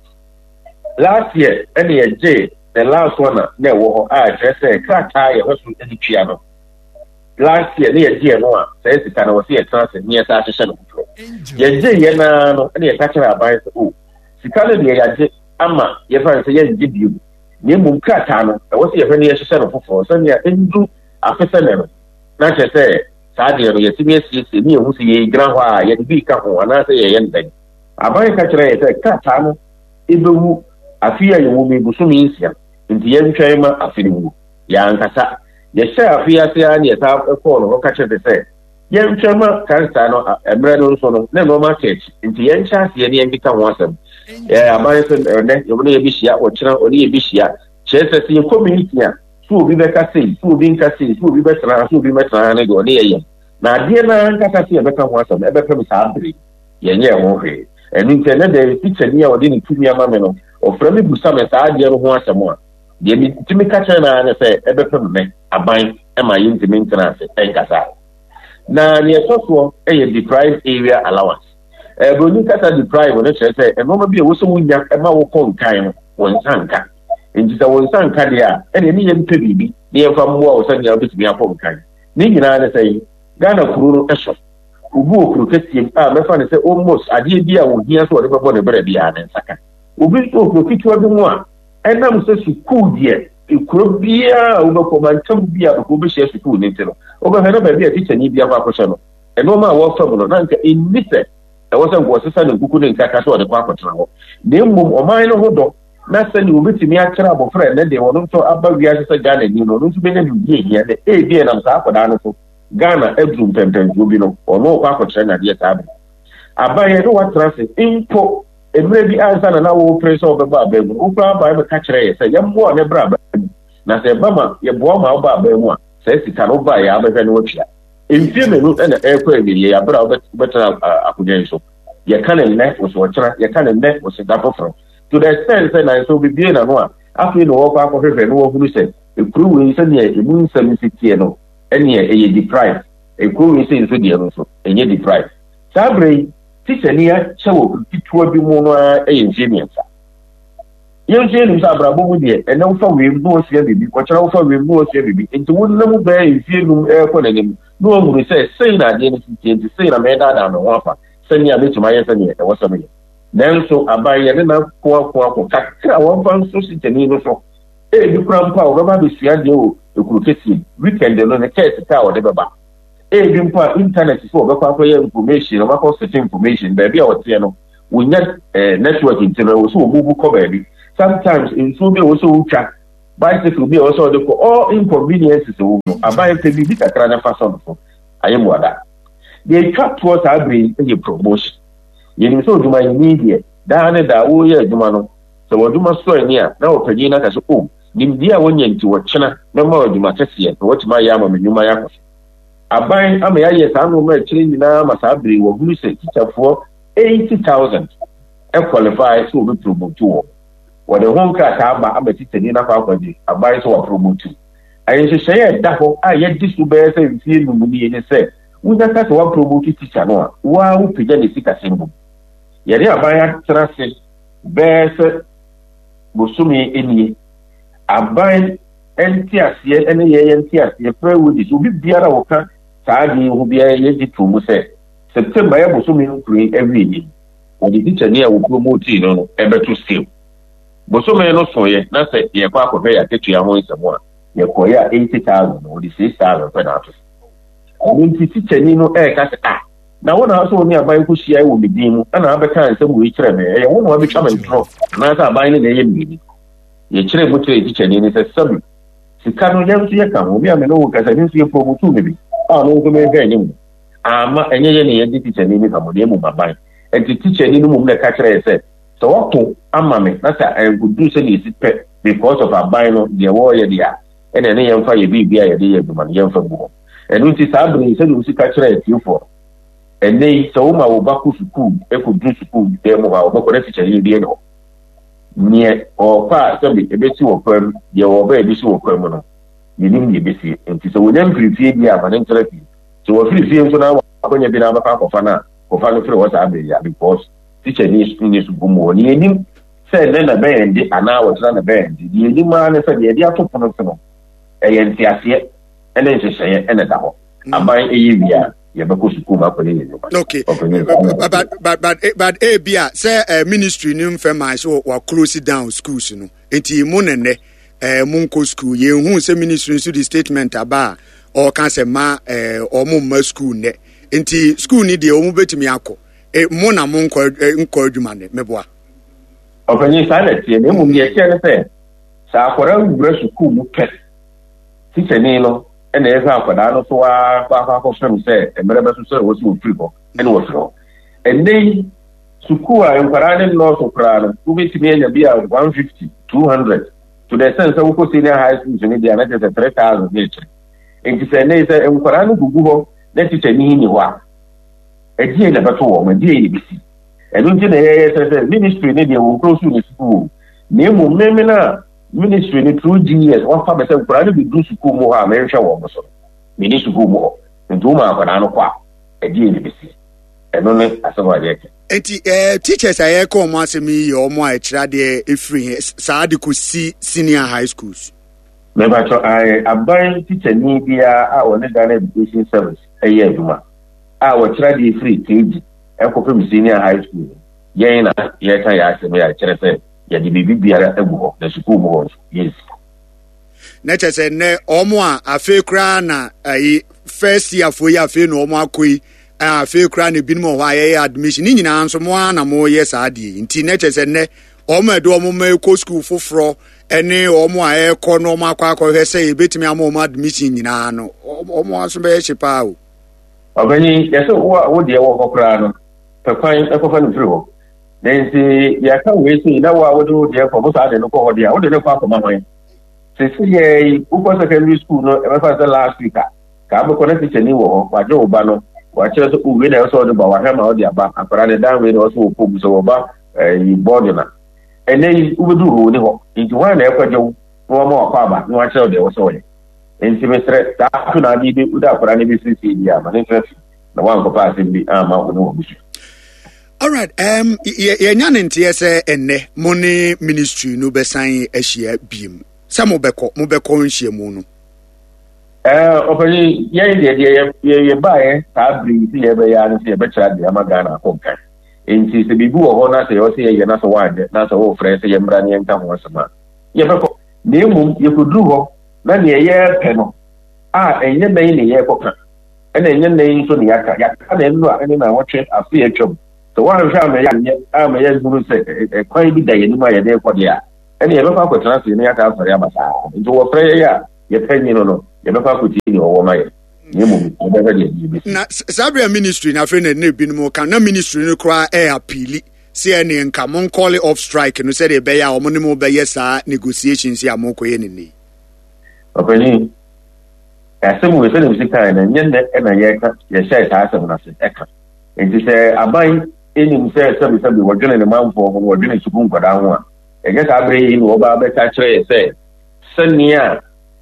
last year ɛna yɛgyee the last one a na ɛwɔ hɔ a kyerɛ sɛ krataa yɛhwɛ so de tua no. Last year ne yɛgye no a saa sika no wɔ sɛ yɛtena ase ne yɛsa ahyehyɛ no foforɔ. Yɛgye yɛ naa no ɛna yɛka kyerɛ aban sɛ o sika no deɛ yɛagye ama yɛfa no sɛ yɛngye bio na mmom krataa no ɛwɔ sɛ yɛhwɛ ne yɛhyehyɛ no foforɔ sɛnea ɛndu afe sɛnɛ no na kyerɛ sɛ saa deɛ no yɛtumi asiesie ne yɛhu sɛ yɛgyina hɔ a yɛde bi ka ho anaasɛ yɛyɛ no dɛn. Aban ka kyerɛ yɛ sɛ krataa no ɛbɛwu afe a yɛwɔ mu bosome nsia nti yɛntwɛn ma afe no wu. Yɛankasa yɛhyɛ afe ase ara ne yɛsa kɔɔ no hɔ ka kyerɛ sɛ yɛntwɛn ma krataa no mmerɛ no nso no na nneɛma aka akyi nti yɛnhyɛ aseɛ ne yɛnkeka ho asɛm. Aban sɛ ɛnɛ yɛne yɛbɛhyia ɔkyena ɔne yɛbɛhyia kyerɛ sɛ sɛ yɛkɔ meeting a so obi bɛka sei so obi nka sei so obi bɛtena ha so obi bɛtena ha ne deɛ ɔne yɛyɛ na adeɛ no ankasa sɛ yɛbɛka ho asɛm ɛbɛpem saa bere yɛnyɛ ho hwee. Ɛno nti ɛnɛ dɛ tikyani a ɔde ne tumi ama me no ɔfrɛ me busa me saa adeɛ no ho asɛm a deɛ metumi ka kyerɛ no ara ne sɛ ɛbɛpem me aban ma yɛntumi ntena ase ɛnkasa. Na neɛ ɛtɔ soɔ yɛ deprived area allowance. Buroni kasa deprive no kyerɛ sɛ nneɛma bi a ɛwɔ sɛ wonya ma wokɔ nkan no wo nsa nka. Nti sɛ wo nsa nka deɛ a ɛne ne yɛmpɛ biribi na yɛmfa mmoa wo sɛnea wobɛtumi akɔ nkan. Ne nyinaa ne sɛ Ghana kuro no so obi wɔ kuro kɛseɛ mu a mɛfa no sɛ almost adeɛ bi a ohia sɛ ɔde bɛbɔ ne berɛ biara ne nsa ka. Obi nso wɔ kuro ketewa bi mu a ɛnam sɛ sukuu deɛ kuro biara a wobɛkɔ mantam bi a bɛkɔ wobɛhyia sukuu no nti no wobɛhwɛ na baabi a tikyani bi akɔ akɔhyɛ no nneɛma a wɔfa mu no na nka ɛnni sɛ ɛwɔ sɛ nka ɔsesa ne nkuku ne nkaka sɛ ɔde kɔ akɔtena hɔ na mmom ɔman no ho dɔ na sɛnea obɛtumi akyerɛ abɔfra ɛnɛ deɛ ɔno nso aba wiase sɛ Ghana ni no ɔno nso bɛnya biribi ahia na ebi ɛnam saa akɔdaa no so Ghana aduru mpɛmpɛnsoɔ bi no ɔno ɔkɔ akɔkyerɛ n'adeɛ saa bere aban yɛ ne watena ase mpo mmerɛ bi ansa na na wɔpere sɛ wɔbɛbɔ aban mu wokura aban bɛka kyerɛ yɛ sɛ yɛmmoa ne bra aban mu na sɛ ɛba ma yɛboa ma woba aban mu a saa sika no woba yɛ abɛhwɛ ne watua. Mfie mmienu na ɛrekɔ awieɛ abere a wobɛtena akonnwa yi so. Yɛka ne nnɛ wɔ sɛ ɔkyena, yɛka ne nnɛ wɔ sɛ da foforɔ. To the extent sɛ nanso obibie n'ano a afei na wɔkɔ akɔhwehwɛ na wɔhunu sɛ ekuro wei sɛdeɛ emu nsɛm si teɛ no ɛneɛ ɛyɛ deprived. Ekuro wei sɛ nso deɛ no nso ɛnyɛ deprived. Saa bere yi tikyani akyɛ wɔ ketewa bi mu no ara yɛ mfie mmiɛnsa. Yɛn nso yɛnim sɛ abrabɔ mu deɛ ɛnɛ wofa wiem na wɔsua biribi, ɔkyerɛ wofa wiem na wɔsua biribi. Nti wonam bɛyɛ mfie num ɛrekɔ n'anim na wɔhunu sɛ sei na adeɛ no si teɛ nti sei na mɛdaadaa me ho afa sɛnea mɛtumi ayɛ sɛdeɛ ɛwɔ sɛ meyɛ. Nanso aban yɛne no ako ako ako kakra a wɔmfa nso tikyani no so. Ebi kora mpo a wɔbɛba abɛsua adeɛ wɔ ekuro kɛseɛ mu. Weekend no ne kaa sika a wɔde bɛba. Ebi mpo a internet so wɔbɛkɔ akɔyɛ information, wɔbɛkɔ search information baabi a wɔteɛ no wonya eh, network nti no ɛwɔ sɛ wɔmuvu kɔ baabi. Sometimes nsuo bi a ɛwɔ sɛ wotwa Bicycle bi a ɛwɔ sɛ ɔde kɔ, all inconveniences wɔ mu no, aban pɛ biribi kakra na fa sɔ no so. Ayɛ mu ada. Deɛ etwa toɔ saa bere yi yɛ promotion. Yɛnim sɛ odwumayɛni deɛ, daa ne daa wɔreyɛ adwuma no, sɛ w'adwuma sɔ ani a, na ɔpanyin no aka sɛ, "O, nimdeɛ a woanya nti wɔkyena mɛma wo adwuma kɛseɛ na woatumi ayɛ ama me nnwuma yɛ akɔ so." Aban ama yɛayɛ saa nneɛma akyire nyinaa ma saa bere yi wɔhunu sɛ tikyafoɔ eighty thousand qualify sɛ wɔbɛpromote wɔn. Wɔde ho nkrataa aba ama tikyani no akɔ akɔgye aban sɛ wɔapromote. Nhyehyɛeɛ a ɛda hɔ a yɛadi so bɛyɛ sɛ mfeɛ num nie ne sɛ, wonya ka sɛ wɔapromote tikya no a, wo ara wopagya ne sikasɛm mu. Yɛne aban atena ase bɛyɛ sɛ bosome nie. Aban nteaseɛ ne yɛyɛ nteaseɛ, fair wages, obi biara a wɔka saa adeɛ yi ho biara yɛgye to mu sɛ September yɛ bosome nkuro yi awie yi, wɔde tikyani a wɔpromote no no ɛbɛto scale. Bosome no soeɛ na sɛ yɛkɔ akɔhwɛ yɛ akatua ho nsɛm a, yɛkɔyɛ a eighty thousand no, wɔde six thousand pɛ na ato so. Ɛno nti tikyani no ɛreka sɛ, ah, na wo na sɛ wo ne aban kɔhyia wɔ me din mu ɛna abɛka nsɛm wei kyerɛ me, ɛyɛ wo na wabɛtwa me ntorɔ anaasɛ aban no na ɛyɛ mmienu? Yɛkyerɛ mu kyerɛ tikyani no sɛ sɛbi sika no yɛn nso yɛka ho, me a me ne wo kasa me nso yɛpromote me bi a me nso mehwɛ anim ama ɛnyɛ yɛ ne yɛde tikyani no ka mo na mmom aban. Nti tikyani no mmom na ɛka kyerɛ yɛ sɛ sɛ wɔko ama me na sɛ ɛnkɔduru sɛdeɛ ɛsi pɛ because of aban no deɛ wɔreyɛ deɛ a, ɛna ɛne yɛmfa yɛ biribi a yɛde yɛ adwuma no yɛmfa gu hɔ. Ɛno nti saa bere yi, sɛdeɛ wosi ka kyerɛ atiefoɔ no, ɛnnɛ yi sɛ woma wo ba kɔ sukuu ɛkɔduru sukuu dan mu hɔ a, wɔbɛkɔ na tikyani bi ne hɔ. Neɛ ɔɔkɔ a sɛbi ɛbɛsi wɔ kwan mu, deɛ wɔba a ɛbɛsi wɔ kwan mu no, yɛnim deɛ ɛbɛsie. Nti sɛ wɔnya mfiri fie deɛ a, ma ne ntena fie. Sɛ wɔfiri fie nso na wakɔnya bi na abɛkɔ akɔfa no a, kɔfa no firi hɔ saa bere yi a, because tikyani nni sukuu mu hɔ. Neɛ yɛnim sɛ ɛnnɛ na ɛbɛyɛ nde anaa wɔkyena na ɛbɛyɛ nde, deɛ yɛnim ara ne sɛ deɛ yɛde ato pono so no, ɛyɛ nteaseɛ ne nhyehyɛeɛ na ɛda hɔ. Aban ɛyɛ wie a, yɛbɛkɔ sukuu mu akɔyɛ yɛn nnwuma. Okay, but but but but ebi a sɛ uh, ministry no mfɛ maa sɛ wa close down schools no, nti mo nɛnɛ eh, mo nkɔ school. Yɛn hu sɛ ministry nso de statement aba a ɔka sɛ ma eh, ɔmo mma school nnɛ, nti school ni deɛ ɔmo bɛtumi akɔ. Eh, mo na mo nkɔ nkɔ adwuma nnɛ mɛboa. Ɔpanyin, saa na ɛteɛ, na mmom deɛ ɛteɛ ne sɛ sɛ akwadaa wura sukuu mu pɛ, tikyani no ɛna ɛhwɛ akwadaa no so ara kɔ akɔ akɔfam sɛ mmerɛ bɛso sɛ ɛwɔ sɛ wɔfiri hɔ ɛna wɔfiri hɔ. Ɛnnɛ yi sukuu a nkwadaa ne nnɔɔso koraa no, wobɛtumi anya bi a one fifty, two hundred, to the extent sɛ wokɔ senior high schools no deɛ a na kyerɛ sɛ three thousand ne akyire. Nti sɛ ɛnnɛ yi sɛ nkwadaa no gugu hɔ na tikyani nni hɔ a, ɛdeɛn na ɛbɛto wɔn, ɛdeɛn na ɛbɛsi? Ɛno nti na yɛyɛ sɛ sɛ ministry no deɛ wɔn close ne sukuu o, na mmom mmemme no a ministry no through G E S wɔfa me sɛ nkwadaa no bɛduru sukuu mu hɔ a menhwɛ wɔn so no, menni sukuu mu hɔ. Nti woma akwadaa no kɔ a, ɛdeɛn na ɛbɛsi? Ɛno ne asɛm a yɛka. Nti eh, teachers a yɛka wɔn asɛm yi yɛ wɔn a ɛkyerɛ adeɛ ɛfiri he saa de kɔsi senior high schools? Mepakyɛ, aban tikyani biara a ɔne Ghana Education Service ɛyɛ adwuma a wɔkyerɛ adeɛ firi K G ɛkɔpem senior high school no, yɛn na yɛka yɛ asɛm yɛ akyerɛ sɛ yɛde biribi biara agu hɔ na sukuu mu hɔ nso yɛnsi. Na kyerɛ sɛ nnɛ ɔmo a afei koraa na ayi first year foɔ yi, afei na ɔmo akɔ yi, afei koraa na ebinom wɔ hɔ a yɛyɛ admission ne nyinaa nso mo ara na mo yɛ saa adeɛ yi, nti na kyerɛ sɛ nnɛ ɔmo a ɛde ɔmo ma ɛkɔ sukuu foforɔ ɛne ɔmo a ɛkɔ na ɔmo akɔ akɔhwɛ sɛ yɛbɛtumi ama ɔmo admission nyinaa no, ɔmo aso bɛyɛ hye paa o. Ɔpanyin, yɛsɛ wo a wo deɛ wɔ hɔ koraa no, pɛ kwan ɛkɔfa no firi hɔ. Na nti yɛka wei sei na wo a wode wo deɛ kɔ mo saa de no kɔ hɔ deɛ a, wode no kɔ akɔma hwan? Sisi yɛ yi, wokɔ secondary school no, ɛbɛfa sɛ last week a ka abɛkɔ na tikyani wɔ hɔ, wagye wo ba no, wakyerɛ sɛ wei na ɛwɔ sɛ ɔde ba, wahwɛ ma ɔde aba, akwadaa ne dan wei na ɔsɛ wɔkɔ mu sɛ wɔba ɛyi bɔɔdo na ɛnɛ yi wobɛduru hɔ wɔ ni hɔ, nti hwan na ɛkɔgye wo na wɔma wakɔ aba na wakyerɛ wo deɛ ɛwɔ sɛ ɔyɛ? Nti mesrɛ, saa ato na ade bi wode akwadaa no bɛfiri fie bi a, ma ne ntena fie na wankɔpa asɛm bi amma wo ne w'abusua. Alright, um, yɛnya ne nteɛ sɛ ɛnnɛ mo ne ministry no bɛsan ahyia biem sɛ mobɛkɔ mobɛkɔ nhyiamu no. Ɔpanyin, yɛn deɛ deɛ yɛbaeɛ saa bere yi sɛ yɛbɛyɛ ara ne sɛ yɛbɛkyerɛ adeɛ ama Ghana akɔ nkan. Nti sɛ biribi wɔ hɔ na sɛ yɛwɔ sɛ yɛyɛ na sɛ woanyɛ na sɛ wofrɛ sɛ yɛmmra ne yɛnka ho asɛm a, yɛbɛkɔ. Na mmom yɛkɔduru hɔ na neɛ yɛrepɛ no a, ɛnyɛ nnan ne yɛrekɔka, ɛna ɛnyɛ nnan nso ne yɛaka. Yɛaka na nnora ne nnawɔtwe afe atwam. Sɛ woanhwɛ ama yɛanyɛ ama yɛahunu sɛ ɛkwan bi da yɛn anim a yɛde rekɔ deɛ a, Ɛne yɛbɛkɔ akɔtena ase ne yɛaka asɔre aba saa. Nti wɔfrɛ yɛn a yɛpɛ nyi no no, yɛbɛkɔ akɔtie nea ɔwɔ ma yɛn. Na mmom yɛbɛhwɛ deɛ yɛbɛsi. Na saa berɛ a ministry no afei na na ebinom ka na ministry no koraa ɛyɛ appeal sɛ ɛne nka mo call off strike no sɛdeɛ ɛbɛyɛ a wɔn ne mo bɛyɛ saa negotiations a mokɔyɛ ne nnɛ yi. Ɔpanyin, asɛm wei sɛdeɛ mesi kae no, ɛnyɛ nnɛ ɛna yɛka yɛhyɛɛ saa asɛm no ase ɛka. Nti sɛ aban ɛnim sɛ sɛbesɛbe wɔdwene ne manfoɔ ho, wɔdwene sukuu nkwadaa ho a, ɛnyɛ saa berɛ yi na wɔba bɛka kyerɛ yɛ sɛ sɛnea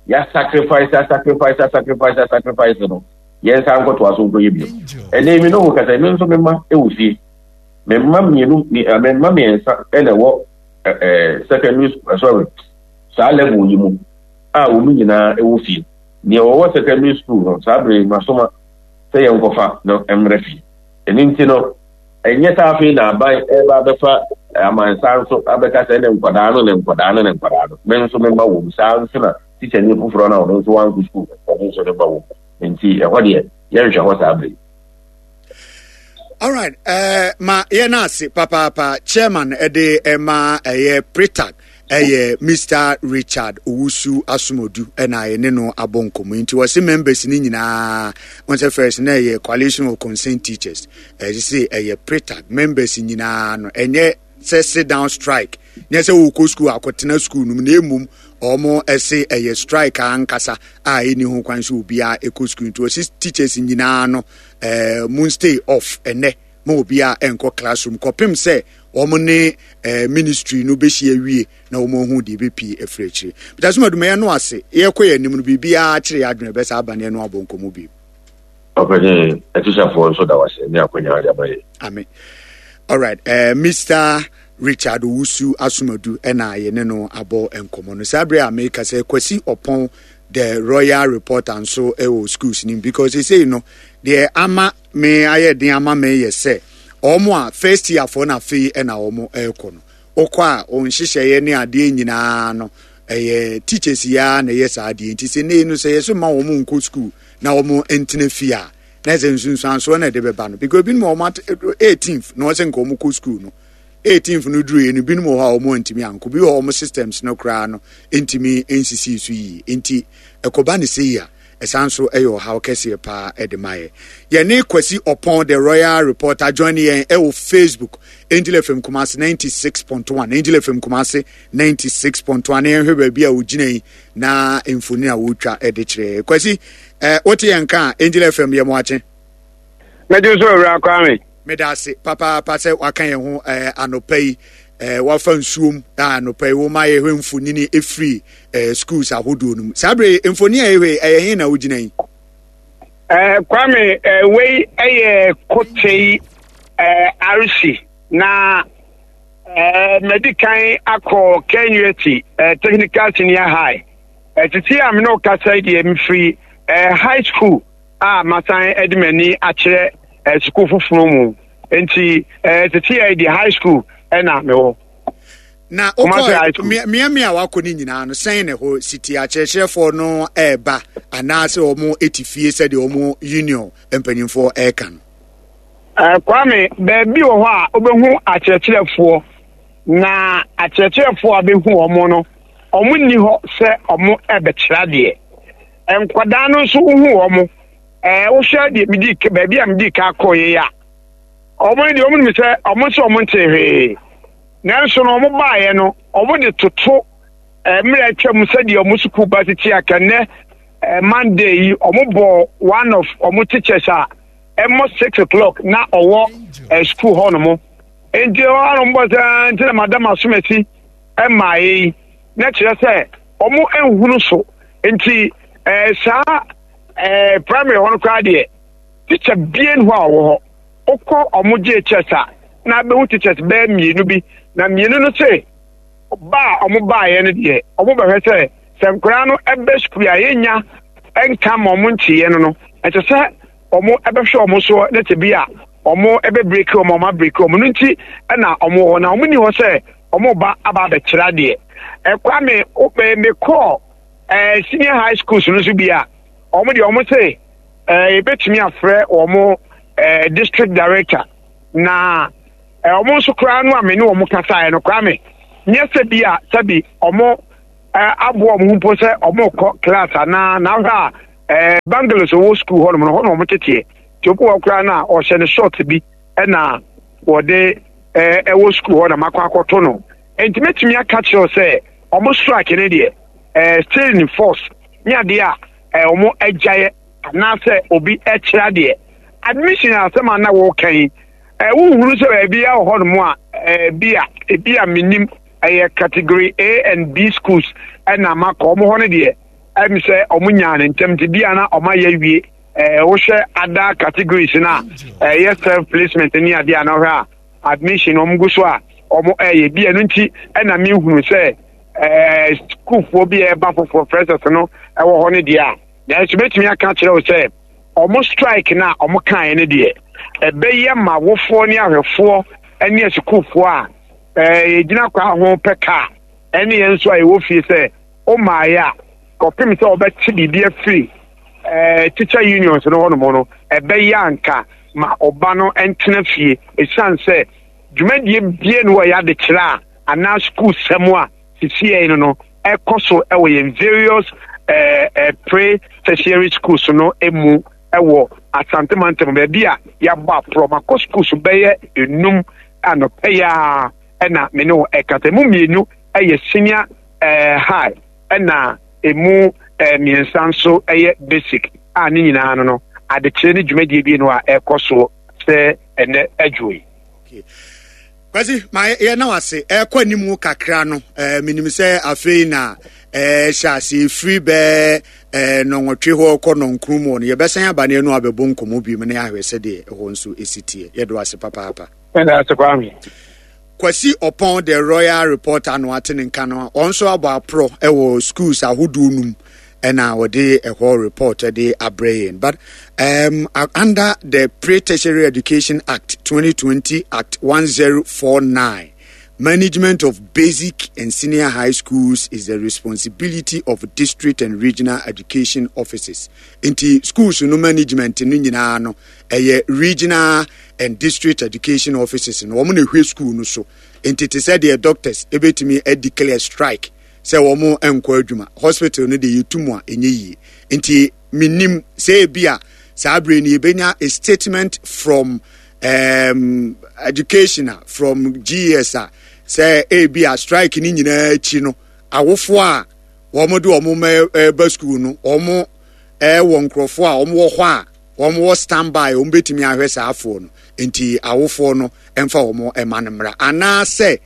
yɛasacrifice asacrifice asacrifice asacrifice no, yɛnsa nkɔtoa so nkɔyɛ bio. Ɛnɛ mi ne wo kasa, me nso me mma ɛwɔ fie. Me mma mmienu, me mma mmiɛnsa ɛna ɛwɔ ɛɛ secondary school, sorry, saa level yi mu a wɔn nyinaa ɛwɔ fie. Nea wɔwɔ secondary school no, saa bere masoma sɛ yɛnkɔfa no mmerɛ fie. Ɛno nti no, ɛnyɛ saa afei na aban ɛba abɛfa amansa nso abɛka sɛ ne nkwadaa no ne nkwadaa no ne nkwadaa no. Me nso me mma wɔ mu. Saa nso na tikyani foforɔ no a ɔno nso wankɔ school ɔno nso ne mma wɔ mu. Nti ɛhɔ deɛ yɛnhwɛ hɔ saa bere. All right, uh, ma yɛn ase papaapa. Chairman ɛde ɛma ɛyɛ Pretag ɛyɛ Mister Richard Owusu Asomodu ɛna yɛne no abɔ nkɔmmɔ. Nti wɔsi members ne nyinaa wɔn sɛ first na ɛyɛ Coalition of Concerned Teachers, ɛyɛ sɛ ɛyɛ Pretag members nyinaa no, ɛnyɛ sɛ sit down strike, nyɛ sɛ wɔkɔ school akɔtena school no mu, na emom wɔn ɛsɛ ɛyɛ strike ankasa a ɛni ho kwan sɛ obiara ɛkɔ school. Nti wɔsi teachers nyinaa no ɛɛ mun stay off ɛnɛ ma obiara ɛnkɔ classroom kɔpem sɛ wɔn ne ɛɛ ministry no bɛhyia wie na wɔn ahu deɛ ɛbɛpie afiri akyire. Peter Sumaduma, yɛn no ase yɛkɔ yɛn anim no, biribiara kyerɛ yɛ adwene bɛsa aba ne yɛn no abɔ nkɔmmɔ bi. Ɔpɛni, atikyafoɔ nso da wase ne akonnwa de ama yɛ. Amen. All right, uh, Mister Richard Owusu Asomadu ɛna yɛne no abɔ nkɔmmɔ no. Saa bere a meka sɛ Kwasi Ɔpɔn the Royal Reporter nso ɛwɔ schools nim, because ɛsei no deɛ ama me ayɛ den ama me yɛ sɛ wɔn a first year foɔ na afei ɛna wɔn ɛrekɔ no, wokɔ a wɔn nhyehyɛeɛ ne adeɛ nyinaa no ɛyɛ teachers yi ara na ɛyɛ saa adeɛ. Nti sɛ nei no sɛ yɛso ma wɔn nkɔ school na wɔn ntena fie a, na ɛsɛ nsunsuansoɔ na ɛde bɛba no, because ebinom wɔn at eighteenth na wɔsɛ nka wɔn kɔ school no, eighteenth no duru yɛ no, ebinom wɔ hɔ a wɔn ntumi ankɔ bi wɔ wɔn systems no koraa no ntumi nsisi so yie. Nti ɛkɔba ne sɛ yi a, ɛsan so ɛyɛ ɔhaw kɛseɛ paa ɛde ma yɛ. Yɛne Kwasi Ɔpɔn the Royal Reporter join yɛn ɛwɔ Facebook, Angel F M Kumasi ninety six point one, Angel F M Kumasi ninety six point one. Na yɛnhwɛ baabi a ogyina yi na mfoni a wɔretwa ɛde kyerɛ. Kwasi, ɛɛ wote yɛn ka a, Angel F M yɛ mo akye. Mɛgye so, Owura Kwame. Meda ase papaapa sɛ waka yɛn ho ɛɛ anɔpa yi, ɛɛ wafa nsuom a anɔpa yi wɔma yɛhwɛ mfonini efiri ɛɛ schools ahodoɔ no mu. Saa bere mfoni a yɛhwɛ ɛyɛ he na wogyina yi? Ɛɛ Kwame, ɛɛ wei ɛyɛ Kotei ɛɛ R C na ɛɛ mɛdi kan akɔ K N U T ɛɛ Technical Senior High. Ɛtete a mene kasa yi deɛ, mefiri ɛɛ high school a masan ɛde m'ani akyerɛ ɛɛ sukuu foforɔ mu, nti ɛɛ tete yɛ deɛ high school ɛna mewɔ. Na wokɔ mmeammea a wakɔ no nyinaa no, sɛn na ɛhɔ siti? Akyerɛkyerɛfoɔ no ɛreba anaasɛ wɔn ti fie sɛdeɛ wɔn union mpanyinfoɔ ɛreka no? ɛɛ Kwame, baabi wɔ hɔ a wobɛhu akyerɛkyerɛfoɔ, na akyerɛkyerɛfoɔ a bɛhu wɔn no, wɔn nni hɔ sɛ wɔn ɛbɛkyerɛ adeɛ. Nkwadaa no nso wohu wɔn, ɛɛ wohwɛ deɛ medi baabi a medi ka kɔɔ yɛ a, wɔn deɛ wɔn nim sɛ wɔn nso wɔn nte hwee, nanso no wɔn baeɛ no, wɔn de toto mmerɛ atwam sɛdeɛ wɔn sukuu ba tete aka. Nnɛ Monday yi, wɔn bɔ one of wɔn teachers a ɛmmɔ six o'clock na ɔwɔ ɛ sukuu hɔ nom, nti hɔ ano bɔ sɛ nti na madam asomasi mmaeɛ yi, na kyerɛ sɛ wɔn nhunu so. Nti ɛɛ saa ɛɛ primary hɔ no koraa deɛ, teacher bie hɔ a ɔwɔ hɔ. Wokɔ ɔmo J H S a, na abɛhu teachers bɛyɛ mmienu bi, na mmienu no se ba a ɔmo baeɛ no deɛ, ɔmo bɛhwɛ sɛ sɛ nkwadaa no ɛbɛ sukuu a yɛnya nka ma ɔmo nteeɛ no no ɛsɛ sɛ ɔmo ɛbɛhwɛ ɔmo soɔ, na sɛ bi a ɔmo ɛbɛ break ɔmo, ɔmo abreak ɔmo no. Nti ɛna ɔmo wɔ hɔ na ɔmo ni hɔ sɛ ɔmo ba aba abɛkyerɛ adeɛ. Ɛkwame, mekɔɔ ɛɛ senior high schools no nso bi a, ɔmo deɛ ɔmo se ɛɛ yɛbɛtumi afrɛ wɔn ɛɛ district director, na ɛɛ ɔmo nso koraa no a me ne wɔn kasaeɛ no, Kwame, Nyɛ sɛ bi a sɛbi ɔmo aboa ɔmo ho mpo sɛ ɔmo kɔ class anaa na ahwɛ a ɛɛ bungalows wɔ school hɔnom no hɔ na ɔmo teteɛ. Nti obi wɔ koraa na ɔhyɛ ne short bi ɛna wɔde ɛɛ ɛwɔ school hɔ na makɔ akɔto no. Nti mɛtumi aka kyerɛw sɛ ɔmo strike ne deɛ ɛɛ still in force ne adeɛ a ɛɛ ɔmo agyaeɛ anaasɛ obi ɛkyerɛ adeɛ. Admission asɛm a na wɔka yi, ɛɛ wohunu sɛ baabi a wɔ hɔnom a ɛɛ bi a ebi a menim ɛyɛ category A and B schools ɛna makɔ ɔmo hɔ no deɛ ɛm sɛ ɔmo nyaa ne ntɛm nti bi a na ɔmo ayɛ awie. Ɛɛ wohwɛ other categories na ɛyɛ self placement ne adeɛ a na ɔhwɛ a admission ɔmo gu so a ɔmo ɛyɛ bi ɛno nti ɛna mehunu sɛ ɛɛ sukuufoɔ bi a ɛba foforɔ freshers no ɛwɔ hɔ no deɛ a nanso mɛtumi aka kyerɛ wo sɛ ɔmo strike na ɔmo kaeɛ no deɛ ɛbɛyɛ ma awofoɔ ne ahwɛfoɔ ne asukuufoɔ a ɛɛ yɛgyina kwan ho pɛ kaa ɛne yɛn nso a yɛwɔ fie sɛ ɔmaayɛ a kɔpem sɛ ɔbɛte biribi afiri ɛɛ teacher unions no hɔnom no ɛbɛyɛ anka ma ɔba no ntena fie ɛsiane sɛ dwumadie bie no wɔyɛ adekyerɛ a anaa sukuu sɛm a sisiɛ no no ɛkɔ so ɛwɔ yɛn various ɛɛ ɛɛ pre tertiary schools no emu ɛwɔ Asante mantam baabi a yɛabɔ aporɔ makɔ schools bɛyɛ enum anɔpɛ yi a ɛna me ne wɔ ɛkasa emu mmienu ɛyɛ senior ɛɛ high ɛna emu ɛɛ mmiɛnsa nso ɛyɛ basic a ne nyinaa no no adekyerɛ ne dwumadie bi no a ɛkɔ so sɛ ɛnɛ adwo yi. Kwasi, ma yɛ na wase ɛkɔ anim kakra no ɛɛ menim sɛ afei na ɛɛ hyɛ ase efiri bɛɛ ɛɛ nɔnwɔtwe hɔ kɔ nɔnkron mu no yɛbɛsan aba ne ɛno abɛbɔ nkɔmɔ bi mu na yɛahwɛ sɛdeɛ ɛhɔ nso esi teɛ. Yɛdo ase papaapa. Ɛna ase Kwame. Kwasi Ɔpɔn the Royal Reporter no ate ne nka no ɔn nso abɔ aporɔ ɛwɔ schools ahodoɔ num ɛna wɔde ɛhɔ report ɛde abrɛ yɛn. But um, under the Pre-Tertiary Education Act twenty twenty Act one zero four nine, management of basic and senior high schools is the responsibility of district and regional education offices. Nti schools no management no nyinaa no ɛyɛ regional and district education offices no wɔn na ehwɛ school no so. Nti te sɛ deɛ doctors ebetumi declare strike sɛ wɔn nkɔ adwuma, hospital no de yɛtu mu a ɛnyɛ yie. Nti menim sɛ ebi a saa bere no yɛbɛnya a statement from um, education from G S a sɛ ebi a strike ni nyinaa akyi no awofoɔ a wɔn de wɔn mma ɛba school no wɔn ɛwɔ nkurɔfoɔ a wɔn wɔ hɔ a wɔn wɔ standby wɔn bɛtumi ahwɛ saa afoɔ no. Nti awofoɔ no ɛmfa wɔn ɛma no mmra anaasɛ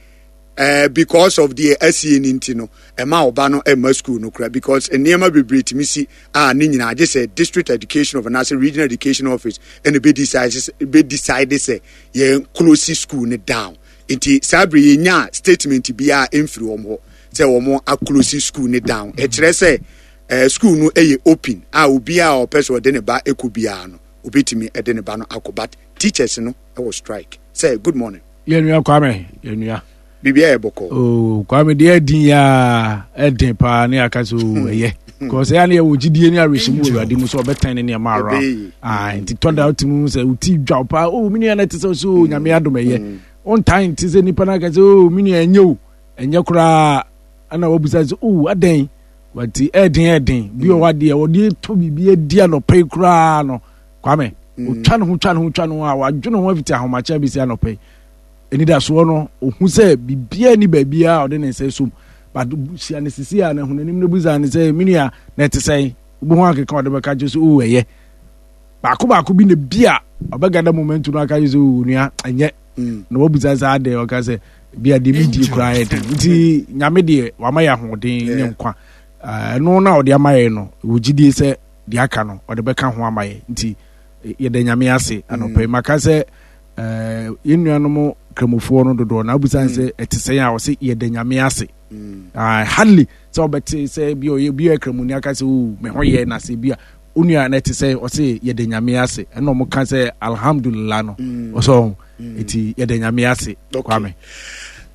Uh, because of the S E N nti no ɛma ɔba no ɛma school no kura because nneɛma bebree tumi si a ne nyinaa gye sɛ district education of anaasɛ regional education office ɛna bɛ decide bɛ decide sɛ yɛn close school no down. Nti saa bere yɛn nya statement biara mfiri wɔn hɔ sɛ wɔn a close school no down. Ɛkyerɛ sɛ ɛɛ school no ɛyɛ open a obiara a ɔpɛ sɛ ɔde ne ba ɛkɔ biara no obetumi ɛde ne ba no akɔ, but teachers no ɛwɔ strike. Sɛ good morning. Yɛn nua Kwame, yɛn nua. Bibia yɛ bɔkɔ. Oh, Kwame deɛ ɛdin ya ɛdin paa ne aka so ɛyɛ. Because ɛyɛ ne yɛ wɔ gyidie ne awerɛhyɛmu wɔ Awurade mu sɛ ɔbɛtɛn ne nneɛma around. Ah, nti tɔ da wote mu sɛ woti dwa paa. Oh, me nua na ɛte sɛ so Nyame adom ɛyɛ. Wontan nte sɛ nipa no aka sɛ oh, me nua ɛnyɛ o. Ɛnyɛ koraa. Ɛna wabusa sɛ oh, adɛn? Wati ɛdin ɛdin. Bi wɔ hɔ adeɛ wɔde tɔ biribi adi anɔpa yi koraa no. Kwame, otwa ne ho twa ne ho twa ne ho a wadwene ho afiti ahomakyɛ abɛsi anɔpa yi. Enidasoɔ no ohu sɛ biribiara ni baabiara a ɔde ne nsa som, but hyia ne sisi a na ehun anim na busa ne sɛ menua na ɛte sɛn, wobɛhu akeka ɔde bɛka kyerɛ sɛ o ɛyɛ baako baako bi na bi a ɔbɛgada moment no aka kyerɛ sɛ o nua ɛnyɛ na wabusa sɛ adɛn, ɔka sɛ bi a deɛ medie koraa yɛ den. Nti Nyame deɛ wama yɛ ahoɔden ne nkwa, ɛno na ɔde ama yɛ no wɔ gyidie sɛ deɛ aka no ɔde bɛka ho ama yɛ. Nti yɛda Nyame ase anɔpa yi. Maka sɛ Uh, yɛn nuanom kramofoɔ no dodoɔ na abusan sɛ ɛte sɛn a ɔse yɛda Nyame ase. Uh, hardly sɛ ɔbɛte sɛ bi ɔyɛ bi yɛ kramoni aka sɛ o me ho yɛ na sɛ bi a onua na ɛte sɛ ɔse yɛda Nyame ase, ɛna ɔmo ka sɛ alhamdulillah no ɔsɛ ɔho eti yɛda Nyame ase. Kwame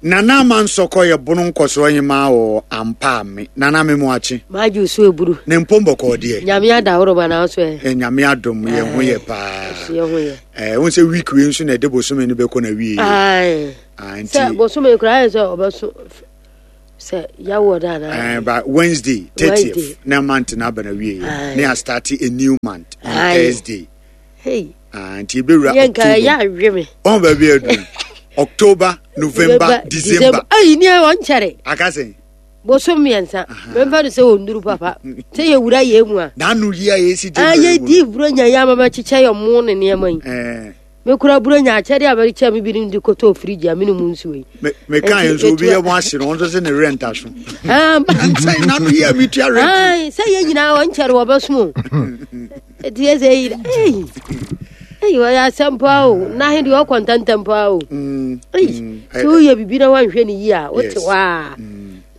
Nana Amansɔkɔ yɛ bono nkɔsoɔ hema wɔ ampa me Nana me mu akye maagye so eburu ne mpɔmbɔkɔ deɛ Nyame adahoro ma na so ɛ Nyame adom yɛ ho yɛ paa yɛ ho yɛ eh won sɛ week we nso na ɛde bosome no bɛkɔ na wie. Aye. Ah, sɛ bosome kura ayɛ sɛ ɔbɛso Sɛ yɛwɔ da na. Eh, but Wednesday thirtieth na month na aba na wie yɛ. Na yɛ start a new month on Thursday. Hey. Ah, nti ebewura October. Yɛn ka yɛ awe me. Ɔn baabi adu. October, November, December. Ayi ni wɔn kyɛrɛ. Akasɛn. Bosom mmiɛnsa. Mɛmfa no sɛ ɔnnuru papa. Sɛ yɛwura yɛ mu a. N'ano yi a yɛsi January mu. Ah, yɛdi buronya yi ama mɛkyekyɛ yɛ mo ne nneɛma yi. Eh. Mekura buronya akyɛdeɛ a mɛde me binom de kɔtɔɔ firigye a mene mu nsuo yi. Meka yɛ nso obi yɛ mo ahye no ɔno nso sɛ ne rent aso. Sɛ n'ano yi a metua rent. Sɛ yɛ nyinaa wɔnkyɛre wɔbɛsom o. Ɛti yɛ sɛ yi ei ei wɔyɛ asɛm paa o na he deɛ ɔkɔ ntɛntɛm paa o. Mm, Ei mm, sɛ woyɛ biribi na woanhwɛ no yie a wote Yes. hɔ a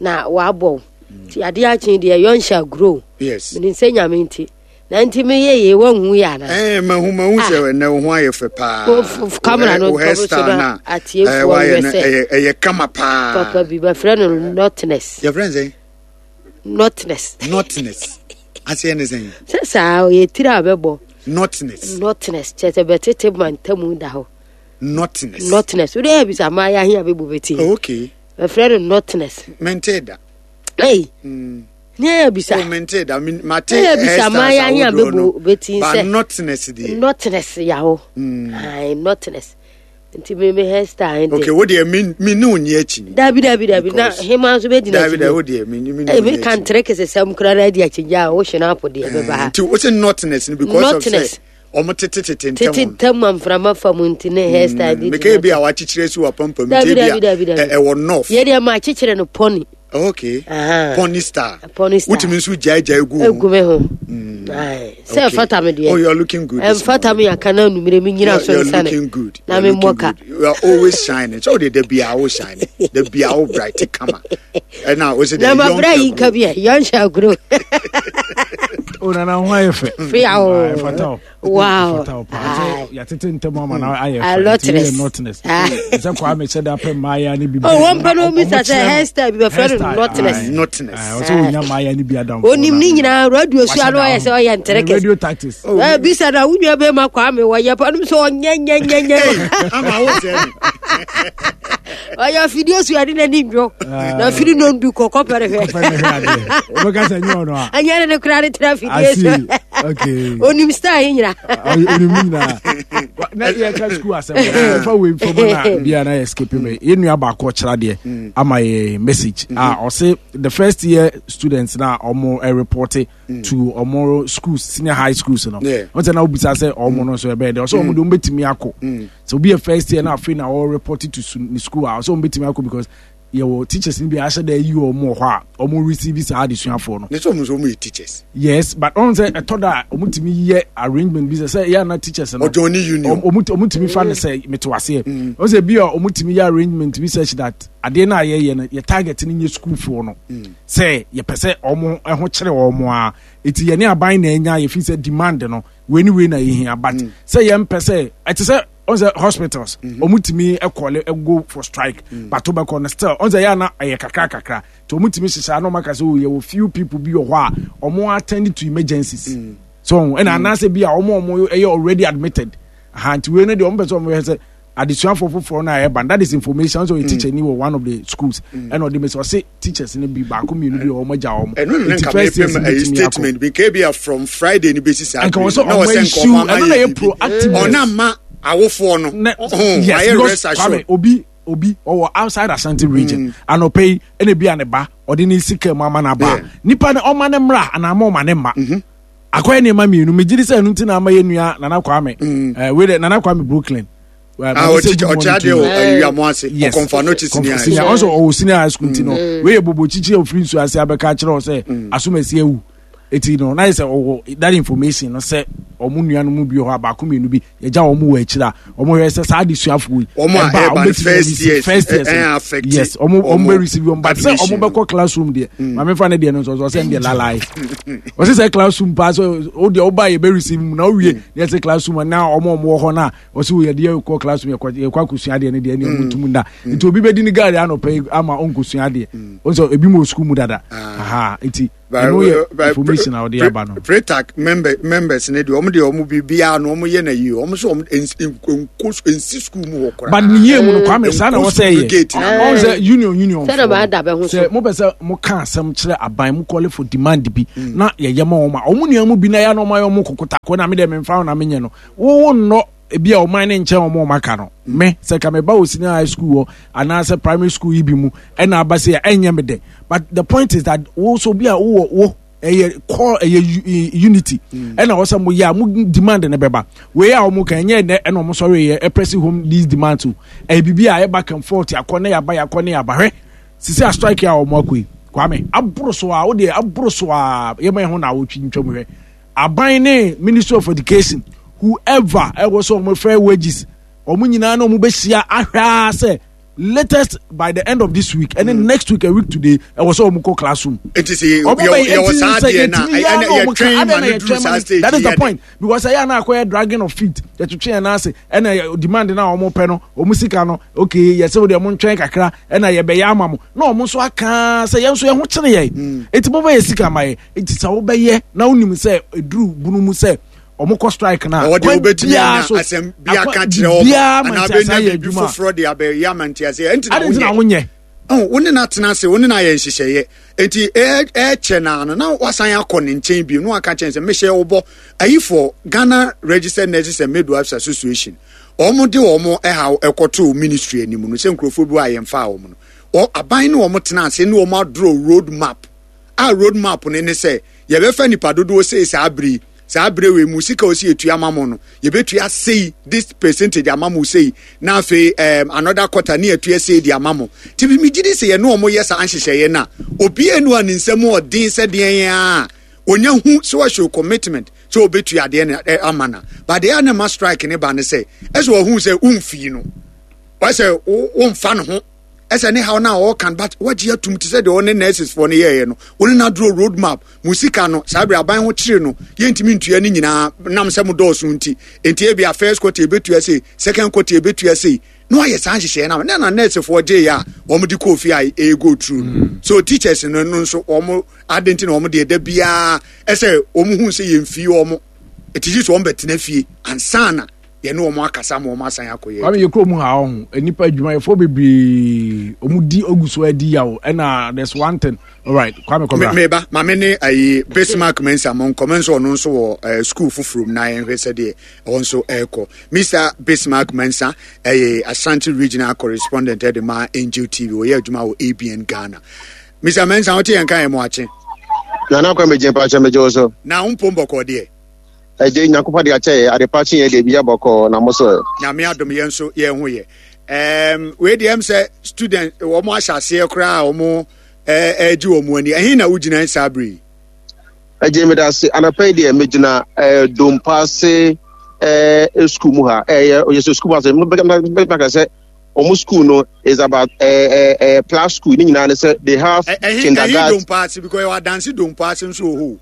na wɔabɔ wo. Nti adeɛ akye deɛ yɔnhyɛ agorɔ o. Yes. Menim sɛ Nyame nti. Na nti meyɛ yei woanhu yɛ anaa? Eh, mahu mahu sɛ ɛnɛ wo ho ayɛ fɛ paa. Wo- f- f- camera no Wo ntɔ so hairstyle na na atiefoɔ eh, wayɛ nhwɛ no, sɛ- ɛyɛ ɛyɛ kama paa. Papa bi bɛfrɛ no notness. Yɛfrɛ no sɛn? Notness. Notness. Aseɛ ne sɛn? Sɛ saa ɔyɛ tiri a bɛbɔ. Notness. Notness kyerɛ sɛ bɛtete ma ntamu da hɔ. Notness. Notness. Wode yɛ bisa maa yɛ ahe a bɛbu bɛti. Oh, okay. Bɛfrɛ no notness. Mente da. Ei. Mm. Ne yɛ bisa. Oh, mente da. Mate Ne yɛ bisa maa yɛ ahe a bɛbu bɛti sɛ. Ba notness deɛ. Notness ya hɔ. Mm. Ae, notness. Nti me me hairstyle nti. Okay, wo deɛ me me ne onye akyi ni. Dabi dabi dabi na hema nso bɛ di n'akyi. Dabi dabi wo deɛ me me ne onye akyi. Me kan tere kese sɛm kura na di akyi gya o hyɛ n'apo deɛ bɛba ha. Nti o se notness ni because of sɛ ɔmo tete tete ntɛm. Tete ntɛm a mframa fa mu nti ne hairstyle di. Meka ebi a wakyekyere si wa pampam nti ebi a ɛwɔ north. Yɛ deɛ ma akyekyere no pɔni. Okay. Uh-huh. Pony star. Pony star. Wotumi nso gyae gyae gu ho. Egu me ho. Sɛ ɛfata me deɛ. Oh, you are looking good. Ɛmfata me aka na numere me nyina so You are nsane. looking good. Na me mmɔ ka. You are always shining. So de da bia wo shining. Da bia wo bright kama. Ɛna wo se de. Na ma bra yi nka bi yɔn hyɛ aguro. O nana ho ayɛ fɛ. Fia o. Ɛfata o. Wow. Yɛtete ntɛm ama na ayɛ fɛ. Notness. Sɛ Kwame hyɛ da pɛ mmaaya ne bi. Oh, wɔn pɛ no misa sɛ hairstyle bi bɛfrɛ no notness. Notness. Ɔsɛ wonya mmaaya ne bi adamfo. Onim ne nyinaa radio so ano ɔyɛ sɛ ɔyɛ nterekes. Radio tactics. Eh, bisa na wo nua bɛma Kwame wɔyɛ pa nom sɛ ɔnyɛ nyɛ nyɛ nyɛ. Ama wo sɛ ni. Ɔyɛ afidie so ade n'ani ndwo. Na afiri no ndu kɔkɔ pɛrɛ hwɛ. Wobɛka sɛ nyɛ ɔno a. Anyɛ ne ne koraa ne tena afidie so. Okay. Onim style yi nyina. Onim nyinaa. Na yɛka school asɛm. Ɛfa wei mfam na bia na yɛ skip me. Yɛn nua baako ɔkyerɛ adeɛ ama yɛ message. Ah, ɔse the first year students na ɔmo report to ɔmo schools, senior high schools no. Wɔn sɛ na obisa sɛ ɔmo no nso ɛbɛyɛ dɛ. Ɔsɛ ɔmo de ɔmo betumi akɔ. Sɛ obi yɛ first year na afei na ɔwɔ report to ne school a ɔsɛ ɔmo betumi akɔ because yɛwɔ teachers ni bi ahyɛ dɛ yi ɔmo wɔ hɔ a ɔmo receive saa adesuafoɔ no. Ne sɛ ɔmo nso ɔmo yɛ teachers. Yes, but ɔmo sɛ ɛtɔ da a ɔmo tumi yɛ arrangement bi sɛ sɛ yɛ ana teachers no. Ɔjɔn ni union. Ɔmo ɔmo tumi fa ne sɛ meto aseɛ. Ɔmo sɛ bi a ɔmo tumi yɛ arrangement bi such that adeɛ no a yɛyɛ no yɛ target no nyɛ sukuufoɔ no. Sɛ yɛpɛ sɛ ɔmo ɛho kyerɛ ɔmo a eti yɛne aban na anya yɛfi sɛ demand no wei ni wei na yɛhia but sɛ yɛmpɛ sɛ ɛte sɛ ɔn sɛ hospitals ɔmo tumi ɛkɔle go for strike but wobɛkɔ no still ɔn sɛ yɛ ana ɛyɛ kakra kakra nti ɔmo tumi hyehyɛ ana ɔmo aka sɛ oh yɛwɔ few people bi wɔ hɔ a ɔmo attend to emergencies so ɛna anaasɛ bi a ɔmo ɔmo ɛyɛ already admitted aha nti wei no deɛ ɔmo pɛ sɛ ɔmo yɛ sɛ adesuafoɔ foforɔ no a ɛba that is information sɛ ɔyɛ teacher ni wɔ one of the schools ɛna ɔde mɛ sɛ ɔse teachers no bi baako mmienu bi wɔ ɔmo agya ɔmo ɛno ne nka mepɛ ɛyi statement bi nka ebi a from Friday ni besi saa nka wɔ sɛ ɔmo issue ɛno na yɛ proactive ɔna ma awofoɔ no yes because Kwame obi obi ɔwɔ outside Ashanti region anɔpɛ yi ɛna ebi a ne ba ɔde ne sika mu ama n'aba nipa ne ɔma ne mmra anaa ama ɔma ne mma akɔyɛ nneɛma mmienu megye di sɛ ɛno nti na ama yɛ nua Nana Kwame ɛɛ wei dɛ Nana Kwame Brooklyn. Ɔkyerɛ adeɛ wɔ awiamu ase ɔkɔnfa no kyi senior high school ɔsɔ ɔwɔ senior high school ti no wei yɛ bobo kyikyi ofiri nsu ase abɛka akyerɛ wɔ sɛ asomasi awu eti no na yɛ sɛ ɔwɔ that information no sɛ ɔmo nua no mu bi wɔ hɔ a baako mmienu bi yɛgya wɔn wɔ akyire a ɔmo hwɛ sɛ saa adesuafoɔ yi ɛba a ɔmo bɛtumi first years yes ɔmo ɔmo bɛ receive wɔn but sɛ ɔmo bɛkɔ classroom deɛ maame fa ne deɛ no nso ɔsɛ ɛn deɛ lalai ɔsɛ sɛ classroom paa sɛ o deɛ ɔba yɛ bɛ receive mu na owie yɛ sɛ classroom na ɔmo ɔmo wɔ hɔ na ɔsɛ o yɛ deɛ kɔ classroom yɛ kɔ yɛ kɔ akosua adeɛ ne deɛ ne ɔmo tum da nti obi bɛ di ne gaari anɔpɛ yi ama ɔnkosua adeɛ ɔsɛ ebi mu wɔ sukuu mu dada aha nti. Ɛno yɛ information a wɔde aba no. Pretac member members ne deɛ, ɔmo deɛ, ɔmo biribiara no ɔmo yɛ na yie. Ɔmo nso ɔmo nko nsi school mu hɔ koraa. But ne yie mu no, Kwame, saa na wɔsɛ yɛ gate na ɔn sɛ union union Sɛ na maa da bɛ ho so. Sɛ mopɛ sɛ moka asɛm kyerɛ aban, mo call for demand bi na yɛyɛ ma wɔn a wɔn nua mu bi na yɛ na wɔn ayɛ wɔn kokotako na me deɛ memfa ho na menyɛ no wo nnɔ ebi a ɔman ne nkyɛn wɔn a wɔn aka no. Me sɛ ka meba wɔ senior high school hɔ anaasɛ primary school yi bi mu ɛna aba sɛ ɛnyɛ me dɛ, but the point is that wo so bi a wowɔ wo ɛyɛ call, ɛyɛ unity, ɛna wɔsɛ mo yɛ a mo demand ne bɛba. Wei a wɔn kan ɛnyɛ ɛnɛ ɛna wɔn sɔre yɛ ɛpress home these demands o. Ɛyɛ bibi a ɛyɛ back and forth, akɔ ne yaba, yakɔ ne yaba. Hwɛ sisi a strike a wɔn akɔ yi, Kwame, aboro so a o deɛ aboro so a yɛma yɛn ho na awotwi ntwam. Hwɛ, aban ne Ministry of Education, whoever ɛwɔ sɛ wɔn fair wages, wɔn nyinaa na wɔn bɛhyia ahwɛ a sɛ latest by the end of this week ɛne mm. next week, a week today, ɛwɔ sɛ wɔn kɔ classroom. Eti sɛ yɛwɔ saa adeɛ na yɛtwɛn ma no duru saa stage. That is the point, because ɛyɛ ana akɔyɛ dragging of feet, yɛtwetwe yɛn n'ase ɛna demand na wɔn pɛ no, wɔn sika no, okay, yɛsɛ wɔde wɔn ntwɛn kakra ɛna yɛbɛyɛ ama mo na wɔn nso aka sɛ yɛn nso yɛn ho kyerɛ yɛn, eti mo bɛyɛ sika ma yɛ. Eti sɛ wɔbɛyɛ na wonim sɛ eduru bunu mu sɛ wɔn kɔ strike na ɔwɔ deɛ wobɛtumi anya asɛm bi aka kyerɛ wɔn anaa bɛnya biribi foforɔ de abɛyɛ ama nteaseɛ ɛnti na wonyɛ. Wo ne no atena ase, wo ne no ayɛ nhyehyɛeɛ, nti ɛkyɛ naa no na wasan akɔ ne nkyɛn bio na waka kyɛn sɛ mehyɛ wo bɔ. Ayifoɔ Ghana Registered Nurses and Midwives Association, wɔn de wɔn ɛhaw ɛkɔtoo ministry anim no sɛ nkurɔfoɔ bi wɔ a yɛmfa wɔn no, aban ne wɔn tena ase ne wɔn adorɔ road map a road map no ne sɛ yɛbɛfa nipa dodoɔ sei saa bere saa bere wei mu, sika osi etua ama mo no, yɛbɛtua sei, this percentage ama mo sei, na afei um, another quarter ne yɛtua sei de ama mo. Ti bi mi gyi di sɛ yɛne wɔn yɛ saa nhyehyɛeɛ na obiara nu a ne nsam ɔden sɛ deɛ yɛn a onya hu sɛ wɔahyɛ commitment sɛ obetua adeɛ no ama na, but deɛ a na ma strike ne ba ne sɛ ɛsɛ wɔn hu sɛ womfii no, wɔsɛ womfa ne ho ɛsɛ ne haw na ɔɔkan, but wagye atum te sɛ deɛ ɔne nurses foɔ no yɛɛyɛ no, wɔne no aduro road map mu sika no. Saa bere aban ho kyere no, yɛntumi ntua ne nyinaa nam sɛ mo dɔɔso nti, nti ebi a first quarter ebetua sei, second quarter ebetua sei, na wayɛ saa nhyehyɛeɛ no na na nurse foɔ gye yɛ a wɔn de kɔɔ fie a ɛyɛ go through no. So teachers no no nso wɔn ade nti na wɔn deɛ da biara ɛsɛ wɔn hu sɛ yɛn fie wɔn ɛti gye sɛ wɔn bɛtena fie ansana yɛne wɔn akasa ma wɔn asan akɔyɛ. Kwame, yɛ kurom ha ɔho nipa adwumayɛfoɔ bebree ɔmo di ogu so adi yaw ɛna there's one thing. Alright, Kwame, kɔbra. Meba maame ne ayi Bismarck Mensa mo nkɔmɛ nso, ɔno nso wɔ uh, school foforɔ mu na yɛnhwɛ sɛdeɛ ɛwɔ nso ɛrekɔ. Mister Bismarck Mensa ɛyɛ Ashanti Regional correspondent ɛde ma Angel T V, ɔyɛ adwuma wɔ A B N Ghana. Mister Mensa, wote yɛn ka yɛn mo akye. Nana Kwame gye mpakyɛ, megye wo so. Na wo mpom bɔkɔɔ deɛ? Ɛgye Nyankopɔn de akyɛ yɛ adepa kye yɛ deɛ bi abɔkɔɔ na mo so. Nyame adom, yɛn nso yɛn ho yɛ. um, wei deɛ m sɛ student wɔn ahyɛ aseɛ koraa a wɔn ɛregye wɔn ani. Ɛhe na wogyina saa bere yi? Ɛgye meda ase. Anapa yi deɛ megyina ɛɛ Dompaase ɛɛ sukuu mu ha. Ɛyɛ ɔyɛ sɛ sukuu mu ase mbɛka sɛ wɔn school no is about ɛɛ ɛɛ plus school ne nyinaa ne sɛ they have kindergarten. Ɛhe Dompaase? Because ɛwɔ Adansi Dompaase nso wɔ hɔ.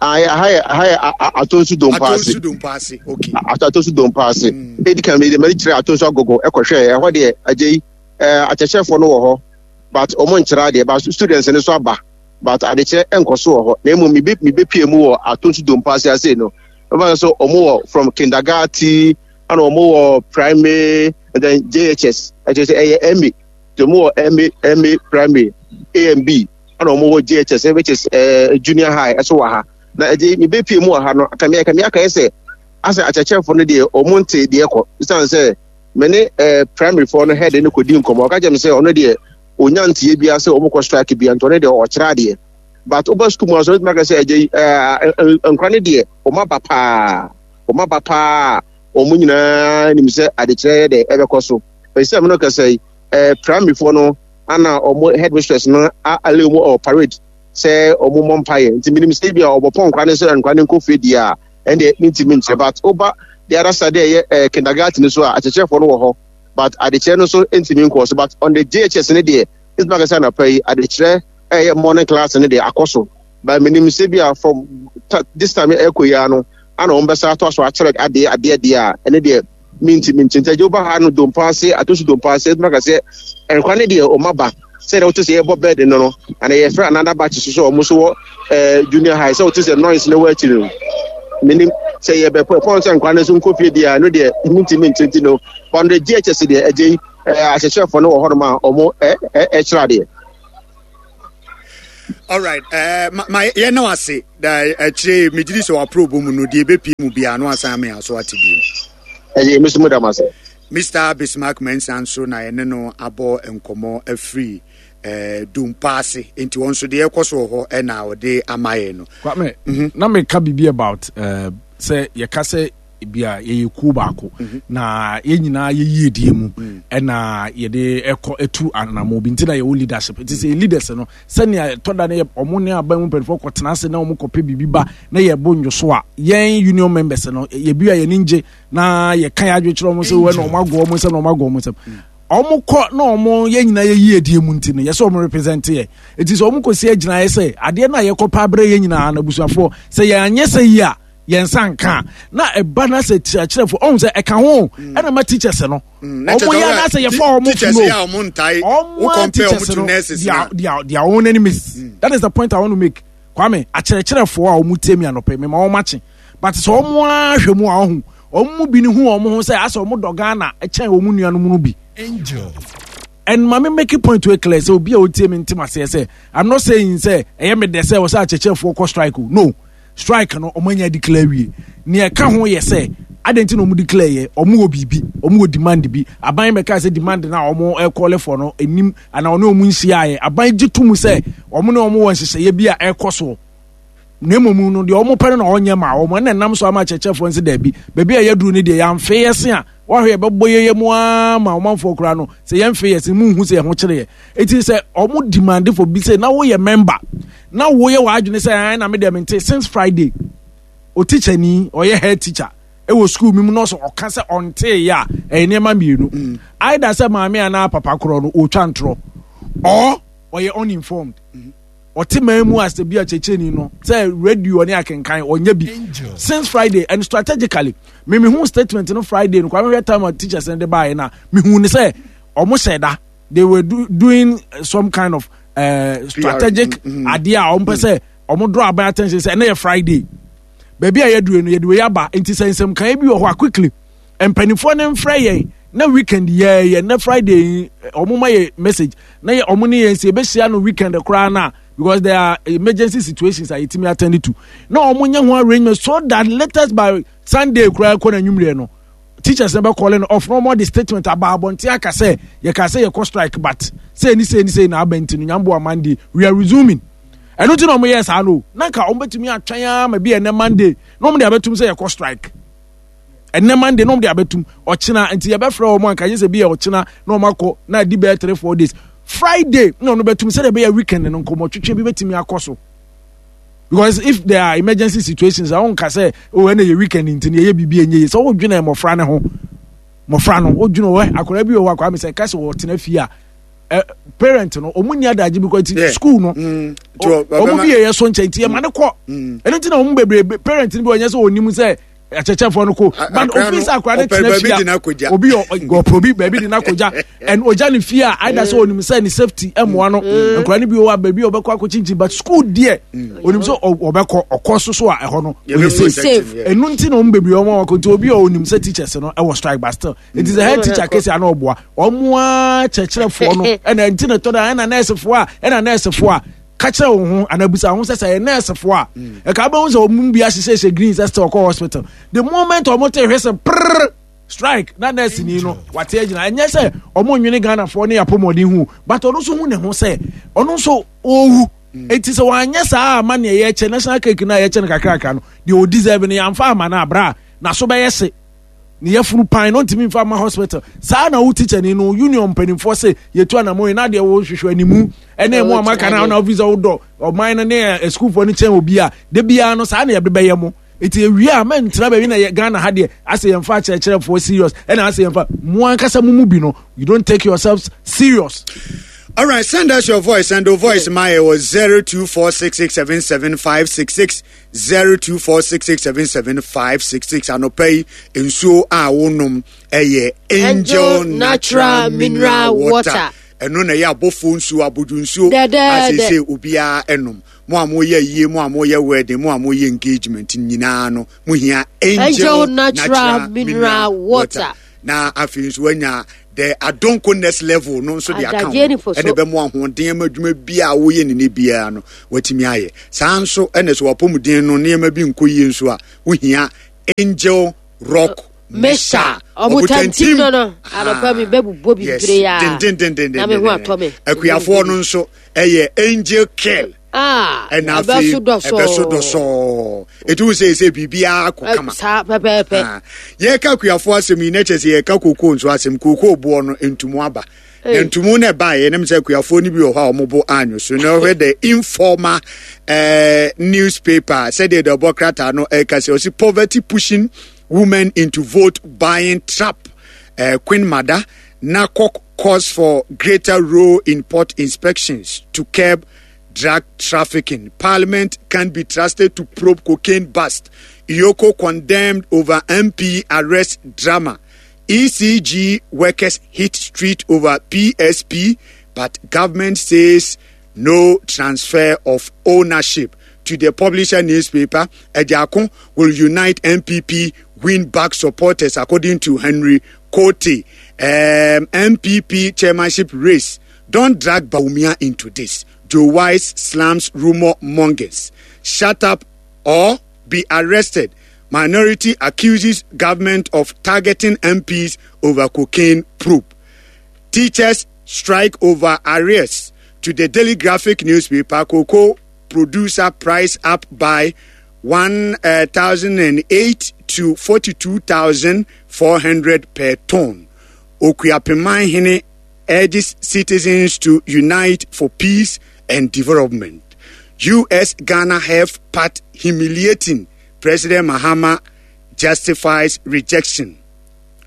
Aha yɛ aha yɛ Atonsu Dompaase. Atonsu Dompaase, okay. Atonsu Dompaase. Edi kan mi de mɛ kyerɛ Atonsu Agogo ɛkɔhwɛ ɛhɔ deɛ, agye yi ɛɛ akyerɛkyerɛfoɔ no wɔ hɔ but wɔn nkyerɛ adeɛ, but students no nso aba, but adekyerɛ nkɔ so wɔ hɔ. Na emu mi bɛ mi bɛ pie mu wɔ Atonsu Dompaase ase no, ɛfɛ sɛ wɔn wɔ from kindergarten ɛna wɔn wɔ primary and then J H S. Ɛkyerɛ sɛ ɛyɛ M A, nti wɔn wɔ M A M A primary A and B, ɛna wɔn wɔ J H S, which is uh, junior high ɛso wɔ ha. Na ɛgye mi bɛ pie mu wɔ ha no, kame kame aka yɛ sɛ asɛ akyerɛkyerɛfoɔ no deɛ wɔn nte deɛ kɔ sisan sɛ mɛ ne ɛɛ primary foɔ no head no kɔ di nkɔmɔ, ɔka kyerɛ mi sɛ ɔno deɛ onya nteɛ bia sɛ wɔn kɔ strike bia, nti ɔno deɛ ɔkyerɛ adeɛ. But ɔba sukuu mu aso, ɔtumi aka sɛ ɛgye ɛɛ nkora no deɛ wɔn aba paa, wɔn aba paa, wɔn nyinaa nim sɛ adekyerɛ yɛ dɛ ɛbɛkɔ so. Ɛsɛ mi no kasa yi, ɛɛ primary foɔ no ana wɔn headmistress no ale wɔn ɔ parade sɛ wɔn mmɔ mpaeɛ, nti minim sɛ bi a ɔbɔ pɔn nkora no sɛ nkora no nkɔ fie deɛ a ɛndeɛ ne ntumi nkyerɛ. But ɔba the other side ɛyɛ ɛɛ kindergarten so a, akyerɛkyerɛfoɔ no wɔ hɔ but adekyerɛ no nso ntumi nkɔ so. But on the J H S no deɛ, ntumi akasa anapa yi adekyerɛ ɛyɛ morning class no deɛ akɔ so, but minim sɛ bi a from this time ɛkɔ yi ano ana wɔn bɛsa ato aso akyerɛ adeɛ adeɛ deɛ a ɛne deɛ minti minti. Nti agye woba ha no Dompaase, Atonsu Dompaase, ntumi akasa nkwa ne deɛ wɔn aba. Sɛdeɛ wote sɛ yɛbɔ bed no no, ana yɛfrɛ another batch so sɛ ɔmo so wɔ ɛɛ junior high, sɛ wote sɛ noise no wɔ akyiri no. Menim sɛ yɛbɛpɔ ɛpɔn sɛ nkwa no nso nkɔ fie deɛ a, ɛno deɛ mentumi nkyerɛ nti no. But no G H S deɛ, agye yi ɛɛ akyerɛkyerɛfoɔ no wɔ hɔnom a ɔmo ɛ ɛ ɛkyerɛ adeɛ. Alright, uh, ma, ma yɛn na wase da akyire megyedi sɛ wapro bɔ mu no deɛ ɛbɛpie mu biara no asan ama yɛn aso ate bio. Ɛyɛ me so mu da mo ase. Mister Bismarck Mensah nso na yɛne no abɔ nkɔmmɔ afiri eh, Dompa ase, nti wɔn nso deɛ ɛkɔ so wɔ hɔ ɛna ɔde ama yɛn no. Kwame, mm -hmm. na meka biribi about uh, sɛ yɛka sɛ bi a yɛyɛ kuo baako mhm. na yɛn nyinaa yɛyie die mu mm. ɛna yɛde ɛkɔ ɛtu anamɔ bi nti na yɛwɔ leadership nti sɛ leaders no sɛnea ɛtɔ da no yɛ ɔmo ne aban mu mpanimfoɔ kɔtena ase na ɔmo kɔpɛ biribi ba na yɛbɔ ndwoso a, yɛn union members no yɛbi a yɛn ngye na yɛka yɛ adwe kyerɛ ɔmo sɛ wɔn na ɔmo agɔ ɔmo nsɛm na ɔmo agɔ ɔmo nsɛm ɔmo kɔ na ɔmo yɛn nyinaa yɛ yie die mu nti no yɛsɛ ɔmo represent yɛ. Eti sɛ ɔmo kɔ si agyina yɛ sɛ adeɛ no a yɛkɔ pa abrɛ yɛn nyinaa na abusuafoɔ sɛ yɛn anyɛ sɛ yie a yɛn nsa nka a, na ɛba na sɛ kyerɛkyerɛfoɔ ɔmo sɛ ɛka ho mm. ɛna ma teachers no mm. ɔmo yɛ anaasɛ yɛfa ɔmo funo ɔmo a teachers no they are they are they are own enemies mm. That is the point I want to make. Kwame, akyerɛkyerɛfoɔ a wɔn tie mi anɔpɛ, mema wɔn akye, but sɛ wɔn ara hwɛ mu a, ɔho wɔn mu bi ne hu wɔn ho sɛ asɛ wɔn dɔ Ghana kyɛn wɔn nuanom no bi. And maame, make it point wey clear sɛ obi a otie mi ntem aseɛ sɛ I'm not saying sɛ ɛyɛ me dɛ sɛ wɔsɛ akyerɛkyerɛfoɔ kɔ strike o. No strike no, wɔn anya declare wie. Nea ɛka ho yɛ sɛ adan ti na wɔn declare yɛ, wɔn wɔ biribi, wɔn wɔ demand bi. Aban bɛka sɛ demand na wɔn ɛkɔle for no enim ana ɔne wɔn nhyia yɛ. Aban gye to mu sɛ wɔn ne wɔn wɔ nhyehyɛeɛ bi a ɛkɔ soɔ, na mmom no deɛ wɔn pɛ no na ɔnyɛ ma wɔn, ɛna nam so ama akyerɛkyerɛfoɔ nso daabi. Baabi a yɛduru no deɛ, yɛamfe yɛ se a wɔahwɛ yɛbɛbɔ yɛyɛ mu ara ma ɔmanfoɔ koraa no sɛ yɛmfe yɛ se mu nhu sɛ yɛn ho kyerɛ yɛ. Eti sɛ wɔn demand for bi sɛ na woyɛ member na woyɛ w'adwene sɛ ɛn na me deɛ mente since Friday o, teacher ni ɔyɛ head teacher ɛwɔ school mi mu na ɔsɛ ɔka sɛ ɔntee yɛ a, ɛyɛ nneɛma mmienu mm. Either sɛ maame anaa papa korɔ no ɔretwa ntorɔ or ɔyɛ uninformed. Ɔte man mu as bi a kyerɛkyerɛni no sɛ radio ne akenkan ɔnyɛ bi since Friday. And strategically, me mehu statement no Friday no, kwame, hwɛ time a teachers no de baeɛ no a, mehu ne sɛ ɔmo hyɛ da, they were do, doing some kind of uh, strategic mm-hmm. adeɛ a ɔmo pɛ sɛ ɔmo draw aban attention sɛ ɛnɛ yɛ Friday, baabi a yɛdure no yɛde wei aba. Nti sɛ nsɛmkan bi wɔ hɔ a, quickly mpanimfoɔ no mfrɛ yɛn na weekend yɛɛyɛ na Friday ɔmo ma yɛ message na yɛ ɔmo ne yɛn si ebehyia no weekend koraa na because there are emergency situations a yɛtumi attend to na ɔmo nyɛ ho arrangement so that latest by Sunday koraa kɔ na nwumire no teachers no bɛ call no off na ɔmo de statement aba abɔnten aka sɛ yɛka sɛ yɛkɔ strike, but sɛ ni sɛ ni sɛ na aba nti no nyamboa Monday we are resuming. Ɛno ti na ɔmo yɛ saa no na nka ɔmo bɛtumi atwɛn ama bi ɛnɛ Monday na ɔmo de abɛtum sɛ yɛkɔ strike ɛnɛ Monday na ɔmo de abɛtum ɔkyena. Nti yɛbɛfrɛ wɔn anka yɛ sɛ bi yɛ ɔkyena na ɔmo akɔ na adi bɛyɛ three four days. Friday na ɔno bɛtum sɛdeɛ ɛbɛyɛ weekend no nkɔmɔ twetwe bi bɛtumi akɔ so, because if there are emergency situations a wɔn nka sɛ o ɛna yɛ weekend nti na yɛyɛ biribi enye yɛ sɛ wɔdwene mmɔfra ne ho, mmɔfra no wɔdwene wɔ akwadaa bi wɔ hɔ akwadaa mi sɛ ɛka sɛ wɔtena fie a ɛ parent no wɔn ni adagye bi kɔ ti school no wɔn bi yɛ yɛ so nkyɛn nti yɛ ma ne kɔ. Ɛno ti na wɔn bebree parent no bi wɔnyɛ sɛ wɔn nim sɛ akyɛkyɛfoɔ no ko, but ofi sɛ akora ne tena fie a obi ɔpɛ obi baabi de n'akɔgya and ogya ne fie a either sɛ onim sɛ ne safety ɛmoa no mm. Nkora no bi wɔ baabi a ɔbɛkɔ akɔkyinkyin, but school deɛ mm. onim sɛ ɔbɛkɔ ɔkɔ so so a ɛhɔ no ɔyɛ safe. Ɛnu nti na ɔmo bebree ɔmo akɔ nti obi a onim sɛ teachers no ɛwɔ strike, but still nti sɛ head teacher kesi ano ɔboa ɔmo a kyerɛkyerɛfoɔ no ɛna nti na ɛtɔ da ɛna nɛɛsefoɔ a ɛna nɛɛsefoɔ a ka kyerɛ wo ho anaa bisa ho sɛ sɛ yɛ nɛɛsefoɔ a mm. ɛka bɛhu sɛ ɔmo bi ahyehyɛhyɛ green sɛ sɛ ɔkɔ hospital, the moment ɔmo te hwɛ sɛ prrr strike na nɛɛse ni no wate agyina. Ɛnyɛ sɛ ɔmo nwene Ghanafoɔ ne apɔmɔden ho, but ɔno nso hu ne ho sɛ ɔno nso ɔwu mm. Eti sɛ wanyɛ saa ama nea yɛkyɛ national cake no a yɛkyɛ no kakrakra no deɛ ɔdeserve no yɛamfa ama no abra a n'aso bɛyɛ se ne yɛfunu pan no ntumi nfa ma hospital. Saa na wo teacher ni no union mpanimfoɔ se yɛtu anamɔ yi na deɛ wɔhwehwɛ animu ɛne ɛmu amaka na na ofisi wodɔ ɔman no ne asukuufoɔ no kyɛn obi a de biara no saa na yɛde bɛyɛ mo. Nti ewie a mɛntena baabi na yɛ Ghana ha deɛ asɛ yɛmfa akyerɛkyerɛfoɔ serious, ɛna asɛ yɛmfa mo ankasa mo mu bi no, you don't take yourselves serious. All right, send us your voice. Send your voice. My was zero two four six six seven seven five six six zero two four six six seven seven five six six. Anɔpa yi nsuo a wonom ɛyɛ Angel Natural Mineral Water. Ɛno na ɛyɛ abɔfoɔ nsuo, abodwo nsuo. Asese obiara ɛnom. Mo a moyɛ yie, mo a moyɛ wedding, mo a moyɛ engagement nyinaa no, mo hia Angel, Angel Natural, Natural Mineral Water. Water. Na afei nso wanya the Adonko next level no nso de aka ho. Ɛna ɛbɛmo ahoɔden ama adwuma biara a woyɛ ne ne biara no watumi ayɛ. Saa nso ɛna so wapɔmuden no nneɛma bi nkɔ yie nso a wohia Angel Rock Mesa ɔbotantim no no anɔpa mi bɛbobɔ bibire ya na me ho atɔ me. Akuafoɔ no nso ɛyɛ Angel Care. Ɛna afei ɛbɛso dɔsɔɔ ɛti wo sɛ sɛ biribiara kɔ kama saa pɛpɛɛpɛ. Yɛka akuafoɔ asɛm yi na kyerɛ sɛ yɛka kokoo nso asɛm. Kokoo boɔ no ntumu aba na ntumu no ɛbaeɛ nam sɛ akuafoɔ no bi wɔ hɔ a wɔn bo anwo so. Na ɔhwɛ the informal eh, newspaper sɛdeɛ deɛ ɔbɔ krataa no ɛka sɛ ɔsi poverty pushing women into vote buying trap. Uh, Queen Mother NACOC calls for greater role in port inspections to curb drug trafficking. Parliament can be trusted to probe cocaine bust. EOCO condemned over M P arrest drama. E C G workers hit street over P S P, but government says no transfer of ownership. To the publisher newspaper, Ejako will unite M P P win back supporters, according to Henry Kote. Um, M P P chairmanship race. Don't drag Bawumia into this. Joe Wise slams rumor mongers. Shut up or be arrested. Minority accuses government of targeting M Ps over cocaine probe. Teachers strike over arrears. To the Daily Graphic newspaper, cocoa producer price up by one thousand eight to forty-two thousand four hundred per ton. Okuapemanhene urges citizens to unite for peace and development. U S Ghana Health Pact humiliating. President Mahama justifies rejection.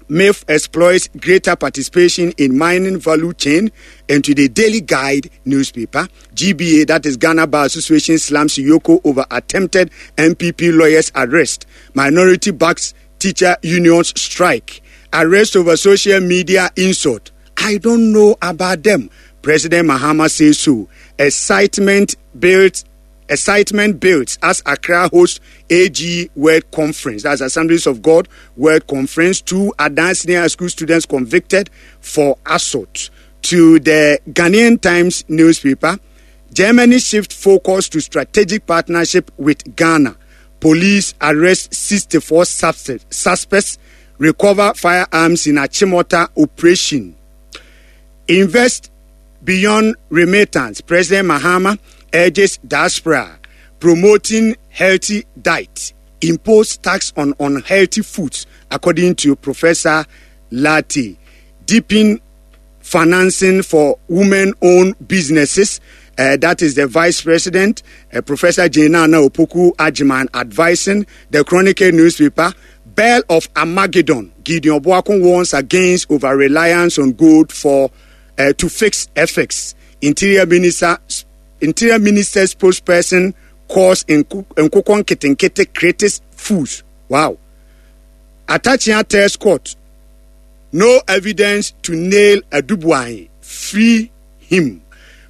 M I F exploits greater participation in mining value chain. And to the Daily Guide newspaper, G B A, that is Ghana Bar Association, slams EOCO over attempted M P P lawyers arrest. Minority backs teacher unions strike. Arrest over social media insult. I don't know about them. President Mahama says so. Excitement builds. Excitement builds as Accra hosts A G World Conference. That's Assemblies of God World Conference. Two Adan Senior School students convicted for assault. To the Ghanaian Times newspaper, Germany shift focus to strategic partnership with Ghana. Police arrest sixty-four suspects, recover firearms in Achimota operation. Invest beyond remittance. President Mahama urges diaspora, promoting healthy diet, impose tax on unhealthy foods, according to Professor Lati. Deepen financing for women-owned businesses. Uh, that is the Vice President, uh, Professor Jane Naana Opoku Agyemang, advising the Chronicle newspaper. Bell of Armageddon. Gideon Boako warns against over-reliance on gold for, uh, to fix F X. Interior Minister, Interior Minister spokesperson calls Nkokon Ketenkete critics fools. Wow. Attachia tells court, no evidence to nail Adu-Boahene. Free him.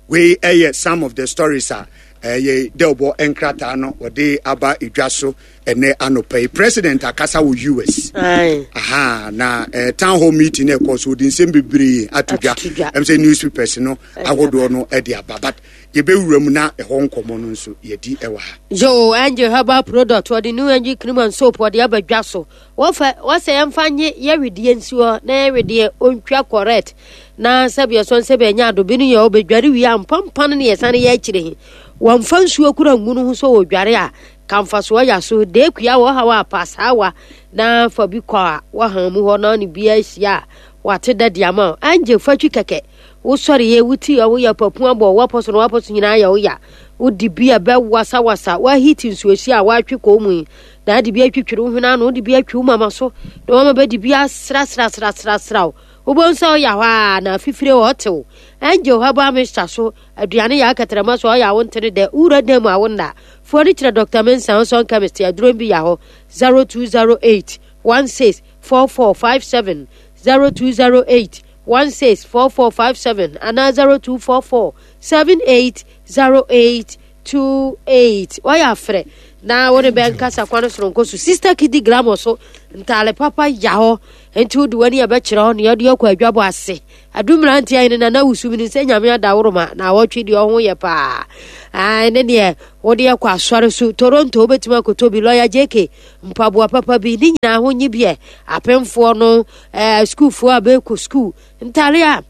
We hear some of the stories are. Eh, Delbo Enkrata no ode aba idwaso ene anope President akasa wo U S. Aye. Aha na eh, town hall meeting e ko so di nsem bebre atodwa. Atodwa. Em say newspapers no Aye. agodo no e de aba but ye be wura mu na e ho nkomo no nso ye di e wa ha. Yo Angel Herbal product or the new Angel cream and soap or the aba dwaso. Wo fa wo say emfa nye ye wedie nsuo na ye wedie ontwa correct. Na sabi so nse be nya ado bi no ye obedware wi ampampan ne ye sane ye akire he. Wamfa nsuo kura ngunu ho so odware a kamfa so ya so de kua wo ha wa pasawa na fa bi kwa wa ha mu ho na ne bia hia wa te da dia ma Angel fa twi keke wo sori ye wuti wo ya papu abo wo poso no wo poso nyina ya wo ya wo di bia be wasa wasa wa hit nsuo hia wa twi ko mu na di bia twitwiri wo hwena no di bia twi wo mama so na wo ma be di bia sra sra sra sra sra wo bo nso ya hwa na fifire wo tew Angel ha ba mista so aduane ya akatrama so ya wo ntere de ura dem a wo nda fo ni kire Doctor Mensa so chemist aduro bi ya ho zero two zero eight one six four four five seven zero two zero eight one six four four five seven anaa zero two four four seven eight zero eight two eight. Wɔyɛ afrɛ na wo ne bɛnkasa kwan soronko so. Sister Kidi Glamour so ntaale papa ya hɔ nti wode w'ani a bɛkyerɛ hɔ nea ɔde akɔ adwabɔ ase. Adu mmeranteɛ ahene na na wusu mi sɛ Nyame adaworoma na awɔtwe deɛ ɔho yɛ paa. Ai ne deɛ wode akɔ asɔre so Toronto wobɛtumi akɔtɔ bi lɔya J K mpaboa papa bi ne nyinaa ho nye biɛ apemfoɔ no ɛɛ sukuufoɔ a bɛkɔ sukuu ntaale a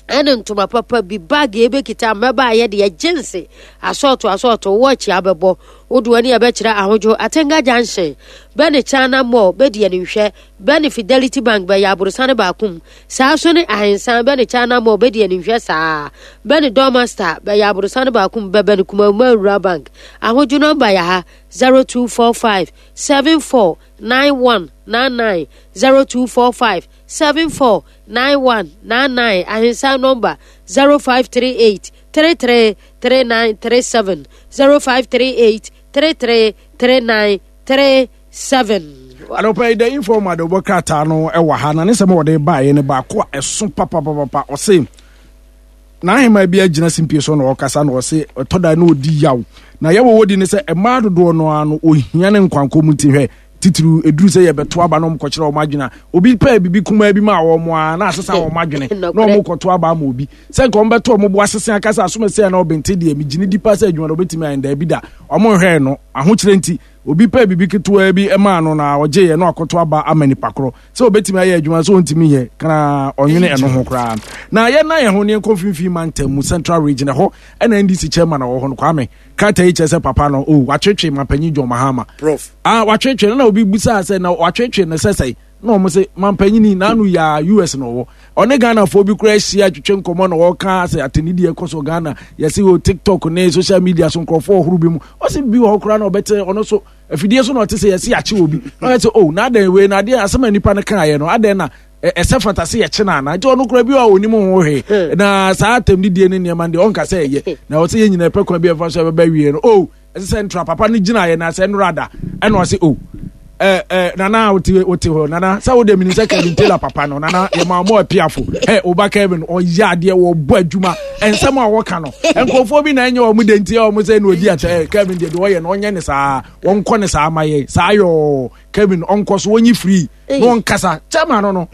ɛne ntoma papa bi, bag ebɛkita mmɛbaa yɛ deɛ jeans asɔɔto asɔɔto wɔɔkye abɛbɔ wode w'ani a bɛkyerɛ Ahodwo Atenga Junction bɛne China Mall bɛdi animhwɛ bɛne Fidelity Bank bɛyɛ aborosane baako mu saa so ne Ahensan bɛne China Mall bɛdi animhwɛ saa bɛne Dormaster bɛyɛ aborosane baako mu bɛbɛne Kumawuma Rural Bank. Ahodwo number yɛ ha zero two four five seven four nine one nine nine, zero two four five seven four nine one nine nine. Ahensan number zero five three eight three three three nine three seven, zero five three eight three three three nine three seven. Anɔpa yi The Informer de wobɔ krataa no wɔ ha na ne nsɛm a wɔde baeɛ no baako a ɛso papapapapa. Ɔse n'ahema bi agyina simpie so na ɔkasa na ɔse ɛtɔ da na ɔdi yaw na yɛwɔ wɔdi ne sɛ mmaa dodoɔ no ara no ohia ne nkwankɔ mu nti hwɛ titiriw eduru sɛ yɛbɛto aba na ɔmo kɔkyerɛ ɔmo adwene a obi pɛɛ bibi kumaa bi ma wɔn a na asesa wɔn adwene na ɔmo kɔto aba ama obi sɛ nka ɔmo bɛto ɔmo bo asese akasa asomɛsɛ na ɔbɛnte deɛ megyina di pa sɛ adwuma na ɔbɛtumi ayɛ daabi da ɔmo nhwɛɛ no ahokyerɛ nti obi pɛɛ bibi ketewa bi maa no na ɔgye yɛ na akɔto aba ama nipa korɔ sɛ ɔbɛtumi ayɛ adwuma sɛ ɔntumi yɛ kana ɔnwene ɛno ho koraa. Na yɛna yɛn ho ne nkɔ mfimfini mantam mu, Central Region ɛhɔ ɛna N D C chairman a ɔwɔ hɔ no Kwame krataa yi kyerɛ sɛ papa no o watwetwe mampanyin John Mahama. Prof. Ah, watwetwe no na obi busaa sɛ na watwetwe no sɛ sɛe na ɔmo sɛ mampanyini n'ano yɛ U S na ɔwɔ ɔne Ghanafoɔ bi koraa ahyia twetwe nkɔmmɔ na wɔka sɛ atɛnidie ɛkɔ so Ghana yɛsɛ wɔ TikTok ne social media so nkurɔfoɔ ɔhoro bi mu ɔsɛ bi wɔ hɔ koraa na ɔbɛte ɔno so afidie so na ɔte sɛ yɛsɛ yɛakye wɔ bi na ɔyɛ sɛ oh na adɛn wei na adeɛ asɛm a nipa no kaeɛ no adɛn na ɛsɛ fata sɛ yɛkye no ana nti ɔno koraa bi a ɔnim ho hwee na saa atɛmdidie ne nneɛma no deɛ ɔnka sɛ ɛyɛ na ɔsɛ yɛn nyinaa ɛpɛ kwan bi ɛfa so ɛbɛba wie no oh ɛsɛ sɛ ntura papa no gyinaeɛ na sɛ nnora da ɛna ɔsɛ oh eh, eh, nana wote wote hɔ nana sɛ wode menim sɛ Kevin Taylor papa no nana yɛma mɔ apiafo ɛ woba Kevin ɔyɛ adeɛ wɔbɔ adwuma ɛnsɛm a wɔka no nkurɔfoɔ bi na ɛnyɛ wɔn de nti ɔmo sɛ na ɔdi akyɛ. Kevin deɛ deɛ ɔyɛ no ɔnyɛ ne saa wɔnkɔ ne saa ma yɛ saa yɔɔ Kevin ɔnkɔ so wɔnyi free na ɔnkasa chairman no no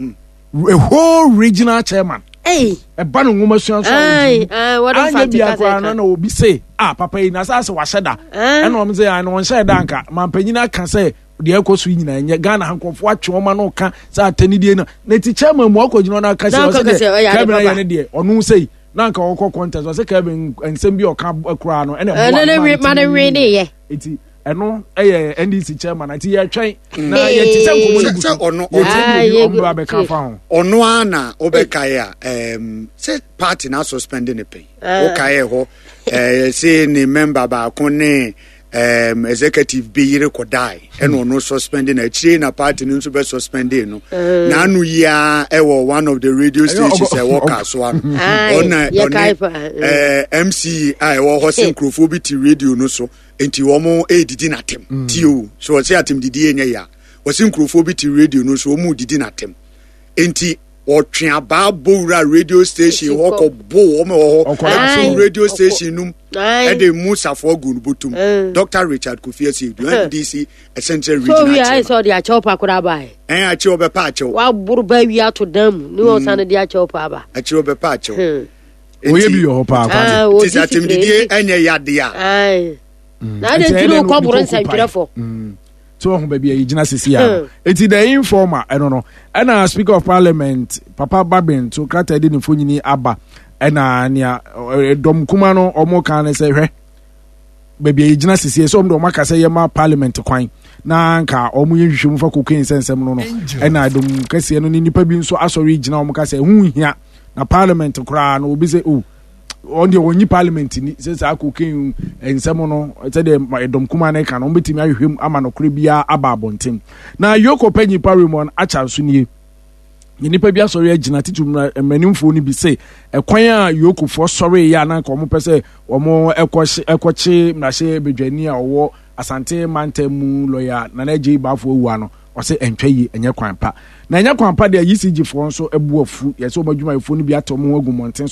a whole regional chairman ɛba no nwoma sua nso a ɔdi anyɛ bia koraa no na obi se ah papa yi na sɛ asɛ wahyɛ da ɛna ɔmo sɛ ɛna ɔnhyɛ da nka mampanyin aka sɛ deɛ ɛkɔ so yi nyinaa nyɛ Ghana ha nkurɔfoɔ atwe wɔn ano ka sɛ atɛnidie no na ti chairman mu akɔ gyina ɔno aka sɛ ɔsɛ deɛ Kevin ayɛ ne deɛ ɔno sɛ yi na nka ɔkɔ contest ɔsɛ Kevin nsɛm bi ɔka koraa no ɛna ɛmoa ma no ne eti ɛno ɛyɛ N D C chairman nti yɛtwɛn na yɛte sɛ nkɔmɔ no gu so ɔno yɛte bi ɔmo ba bɛka fa ho. Ɔno ara na ɔbɛkae a ɛɛm sɛ party na suspend ne pɛn ɔkae hɔ ɛɛ sɛ ne member baako ne um, executive bi yere kɔdae ɛna ɔno suspend na akyire na party no nso bɛ suspend no na ano yia ɛwɔ one of the radio stations ɛwɔ Kasoa no ɔna ɔne ɛɛ M C a ɛwɔ hɔ sɛ nkurɔfoɔ bi te radio no so nti wɔn ɛredidi n'atɛm tie o so ɔsɛ atɛm didi yɛ nyɛ ya wɔsɛ nkurɔfoɔ bi te radio no so wɔn redidi n'atɛm nti ɔtwe abaa bowura radio station hɔ kɔ bo wɔn wɔ hɔ ɛto radio station num ɛde mu safoɔ gu no bɔtum. Doctor Richard Kofi Asiedu, N D C Central Regional Chairman. So wi ayɛ sɛ ɔde akyɛw pa koraa ba yɛ. Ɛn akyɛw bɛpa akyɛw. Waboro ba wi ato dan mu ne wɔn san de akyɛw pa aba. Akyɛw bɛpa akyɛw. Oyɛ bi wɔ hɔ paa. Ti sɛ atɛmdidie ɛnyɛ yadeɛ a. Na adi ntiri kɔ boro nsɛntwerɛfo. Tí wɔn ho baabi a yɛgyina sisi a eti The Informer ɛno no ɛna Speaker of Parliament Papa Babin to krataa de ne mfonini aba ɛna nea dɔm kuma no wɔn kan ne sɛ hwɛ baabi a yɛgyina sisi sɛ wɔn de wɔn aka sɛ yɛma parliament kwan na nka wɔn yɛ nhwehwɛmu fa cocaine nsɛnsɛm no no ɛna dɔm kɛseɛ no ne nipa bi nso asɔre gyina wɔn ka sɛ ɛho hia na parliament koraa no obi sɛ oh wɔn deɛ wɔnyi parliament ni sɛ saa cocaine nsɛm no sɛdeɛ ɛdɔm kuma no ka no wɔn bɛtumi ahwehwɛ mu ama nokorɛ biara aba abɔnten. Na EOCO panyin pa Raymond Archer nso nie nipa bi asɔre agyina titi mmaranimfoɔ no bi sɛ ɛkwan a EOCOfoɔ sɔre yɛ a na nka wɔn pɛ sɛ wɔn ɛkɔhye ɛkɔkye mmarahyɛ badwani a ɔwɔ Asante mantam mu lɔya Nana Adjei Baffour Awuah no Ɔsɛ ɛntwa yie, ɛnyɛ kwan pa na ɛnyɛ kwan pa deɛ. E C G foɔ nso abu afu, yɛsɛ wɔn adwumayɛfoɔ no bi atɛ wɔn ho agu mmɔnten.